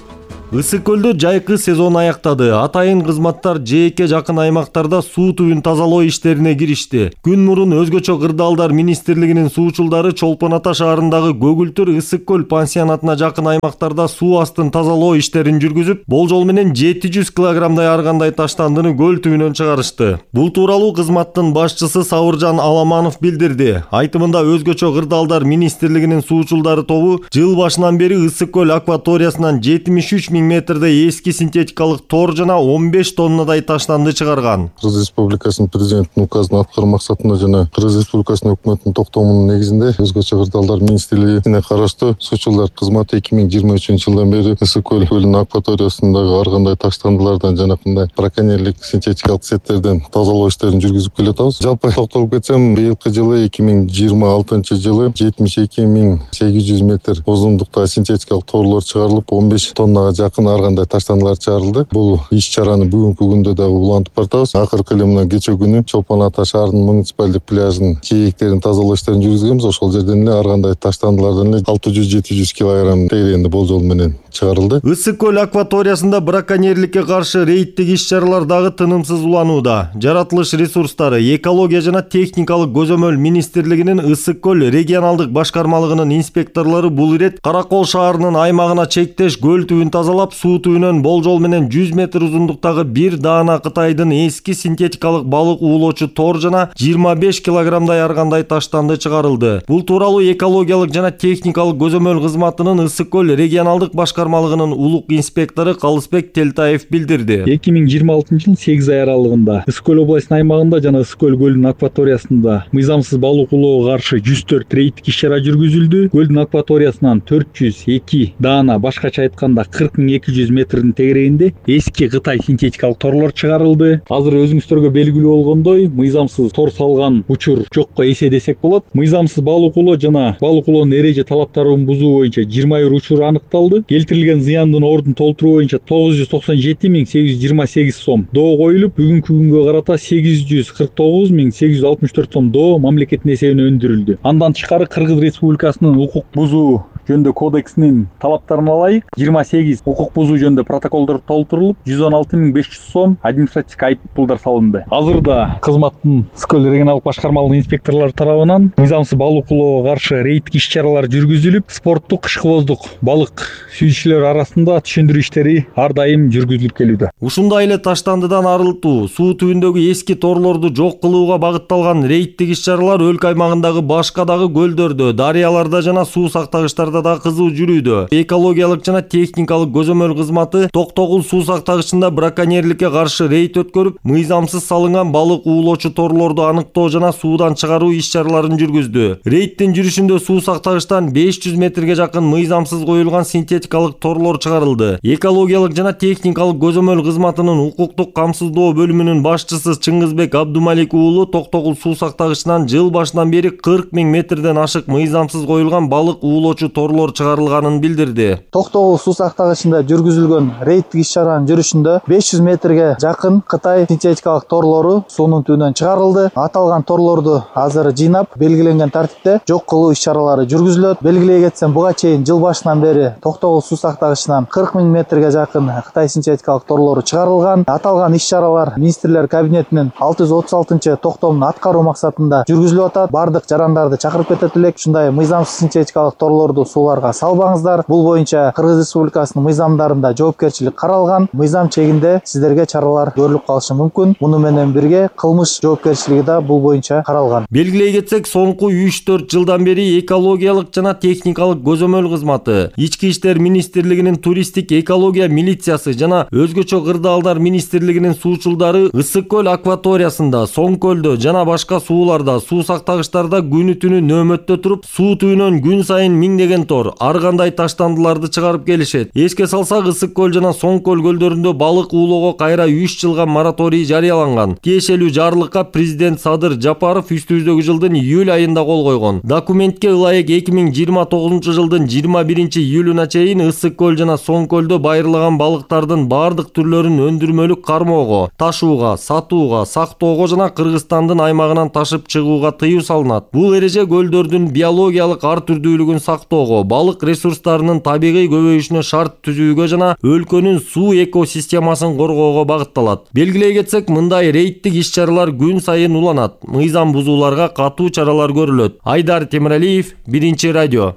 Ысык көлдө жайкы сезон аяктады. Атайын кызматтар жээкке жакын аймактарда суу түбүн тазалоо иштерине киришти. Күн мурун өзгөчө кырдаалдар министрлигинин суучулдары Чолпон Ата шаарындагы Көгүлтүр ысык көл пансионатына жакын аймактарда суу астын тазалоо иштерин жүргүзүп, болжол менен 700 килограммдай ар кандай таштандыны көл түбүнөн чыгарышты. Бул тууралуу кызматтын башчысы Сабыржан Аламанов билдирди. Айтымында өзгөчө кырдаалдар министрлигинин суучулдары тобу жыл башынан бери ысык көл акваториясынан 73 000 метрде эски синтетикалык тор жана 15 тоннадай таштанды чыгарган. Кыргыз Республикасынын президентинин указын аткаруу максатында жана Кыргыз Республикасынын өкмөтүнүн токтомунун негизинде өзгөчө кырдаалдар министрлигине караштуу суучулдар кызматы 2023 жылдан бери ысык көлүнүн акваториясындагы ар кандай таштандылардан жана кандай браконьерлик синтетикалык сеттерден тазалоо иштерин жүргүзүп келатабыз. Жалпы токтолуп кетсем, быйылкы жылы 2026 жылы 72 800 метр узундуктагы синтетикалык торлор чыгарылып, 15 тоннага ар кандай таштандылар чыгарылды. Бул иш-чараны бүгүнкү күндө дагы улантып бартабыз. Акыркы эле мына кечээ күнү Чолпон Ата шаарынын муниципалдык пляжынын жээктерин тазалоо иштерин жүргүзгөнбүз. Ошол жерден эле ар кандай таштандылардан эле 600-700 килограмм тегерегинде болжол менен чыгарылды. Ысык көл акваториясында браконьерликке каршы рейдтик иш-чаралар дагы тынымсыз уланууда. Жаратылыш ресурстары, экология жана техникалык көзөмөл министрлигинин ысык көл регионалдык башкармалыгынын инспекторлору бул ирет Каракол шаарынын аймагына чектеш көл түбүн тазалап, суу түбүнөн болжол менен 100 метр узундуктагы бир даана Кытайдын эски синтетикалык балык уулоочу тор жана 25 килограммдай ар кандай таштанды чыгарылды. Бул тууралуу экологиялык жана техникалык көзөмөл кызматынын ысык көл регионалдык башкармалыгынын улук инспектору Калысбек Телтаев билдирди. 2026 жыл 8 ай аралыгында ысык көл областынын аймагында жана ысык көл көлүнүн акваториясында мыйзамсыз балык уулоого каршы 104 рейдтик иш-чара жүргүзүлдү. Көлдүн акваториясынан 402 даана, башкача айтканда 40 200 метрдин тегерегинде эски Кытай синтетикалык торлор чыгарылды. Азыр өзүңүздөргө белгилүү болгондой, мыйзамсыз тор салган учур жокко эсе десек болот. Мыйзамсыз балык уулоо жана балык уулоонун эреже талаптарын бузуу боюнча 21 учур аныкталды. Келтирилген зыяндын ордун толтуруу боюнча 997 828 сом доо коюлуп, бүгүнкү күнгө карата 849 864 сом доо мамлекеттин эсебине өндүрүлдү. Андан тышкары Кыргыз Республикасынын укук бузуу жөнүндө кодексинин талаптарына ылайык 28 укук бузуу жөнүндө протоколдор толтурулуп, 116 500 сом административдик айып пулдар салынды. Азырда кызматтын ысык көл регионалдык башкармалыгынын инспекторлору тарабынан мыйзамсыз балык уулоого каршы рейдтик иш-чаралар жүргүзүлүп, спорттук кышкыбоздук балык сүйүүчүлөр арасында түшүндүрүү иштери ар дайым жүргүзүлүп келүүдө. Ушундай эле таштандыдан арылтуу, суу түбүндөгү эски торлорду жок кылууга багытталган рейдтик иш-чаралар өлкө аймагындагы башка дагы көлдөрдө, дарыяларда жана суу сактагычтарда аймактарда да кызуу жүрүүдө. Экологиялык жана техникалык көзөмөл кызматы Токтогул суу сактагычында браконьерликке каршы рейд өткөрүп, мыйзамсыз салынган балык уулоочу торлорду аныктоо жана суудан чыгаруу иш-чараларын жүргүздү. Рейдтин жүрүшүндө суу сактагычтан 500 метрге жакын мыйзамсыз коюлган синтетикалык торлор чыгарылды. Экологиялык жана техникалык көзөмөл кызматынын укуктук камсыздоо бөлүмүнүн башчысы Чыңгызбек Абдумалик уулу Токтогул суу сактагычынан жыл башынан бери 40 000 метрден ашык мыйзамсыз коюлган балык уулоочу торлор чыгарылганын билдирди. Токтогул суу сактагычында жүргүзүлгөн рейдтик иш-чаранын жүрүшүндө 500 метрге жакын Кытай синтетикалык торлору суунун түбүнөн чыгарылды. Аталган торлорду азыр жыйнап, белгиленген тартипте жок кылуу иш-чаралары жүргүзүлөт. Белгилей кетсем, буга чейин жыл башынан бери Токтогул суу сактагычынан 40 000 метрге жакын Кытай синтетикалык торлору чыгарылган. Аталган иш-чаралар министрлер кабинетинин 636 токтомун аткаруу максатында жүргүзүлүп атат. Бардык жарандарды чакырып кетет элек. Ушундай мыйзамсыз синтетикалык торлорду сууларга салбаңыздар. Бул боюнча Кыргыз Республикасынын мыйзамдарында жоопкерчилик каралган. Мыйзам чегинде сиздерге чаралар көрүлүп калышы мүмкүн. Муну менен бирге кылмыш жоопкерчилиги да бул боюнча каралган. Белгилей кетсек, соңку 3-4 жылдан бери экологиялык жана техникалык көзөмөл кызматы, Ички иштер министрлигинин туристтик экология милициясы жана өзгөчө кырдаалдар министрлигинин суучулдары Ысык көл акваториясында, Соң көлдө жана башка сууларда, суу сактагычтарда күнү түнү нөөмөттө туруп, суу түбүнөн күн сайын миңдеген тор, ар кандай таштандыларды чыгарып келишет. Эске салсак, Ысык көл жана Соң көл көлдөрүндө балык уулоого кайра 3 жылга мораторий жарыяланган. Тиешелүү жарлыкка президент Садыр Жапаров үстүбүздөгү жылдын июль айында кол койгон. Документке ылайык 2029 жылдын 21 июлуна чейин Ысык көл жана Соң көлдө байырлаган балыктардын бардык түрлөрүн өндүрмөлүк кармоого, ташууга, сатууга, сактоого жана Кыргызстандын аймагынан ташып чыгууга тыюу салынат. Бул эреже көлдөрдүн биологиялык ар түрдүүлүгүн сактоого, балык ресурстарынын табигый көбөйүшүнө шарт түзүүгө жана өлкөнүн суу экосистемасын коргоого багытталат. Белгилей кетсек, мындай рейдтик иш-чаралар күн сайын уланат. Мыйзам бузууларга катуу чаралар көрүлөт. Айдар Темиралиев, Биринчи радио.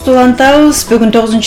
Улантабыз. Бүгүн 9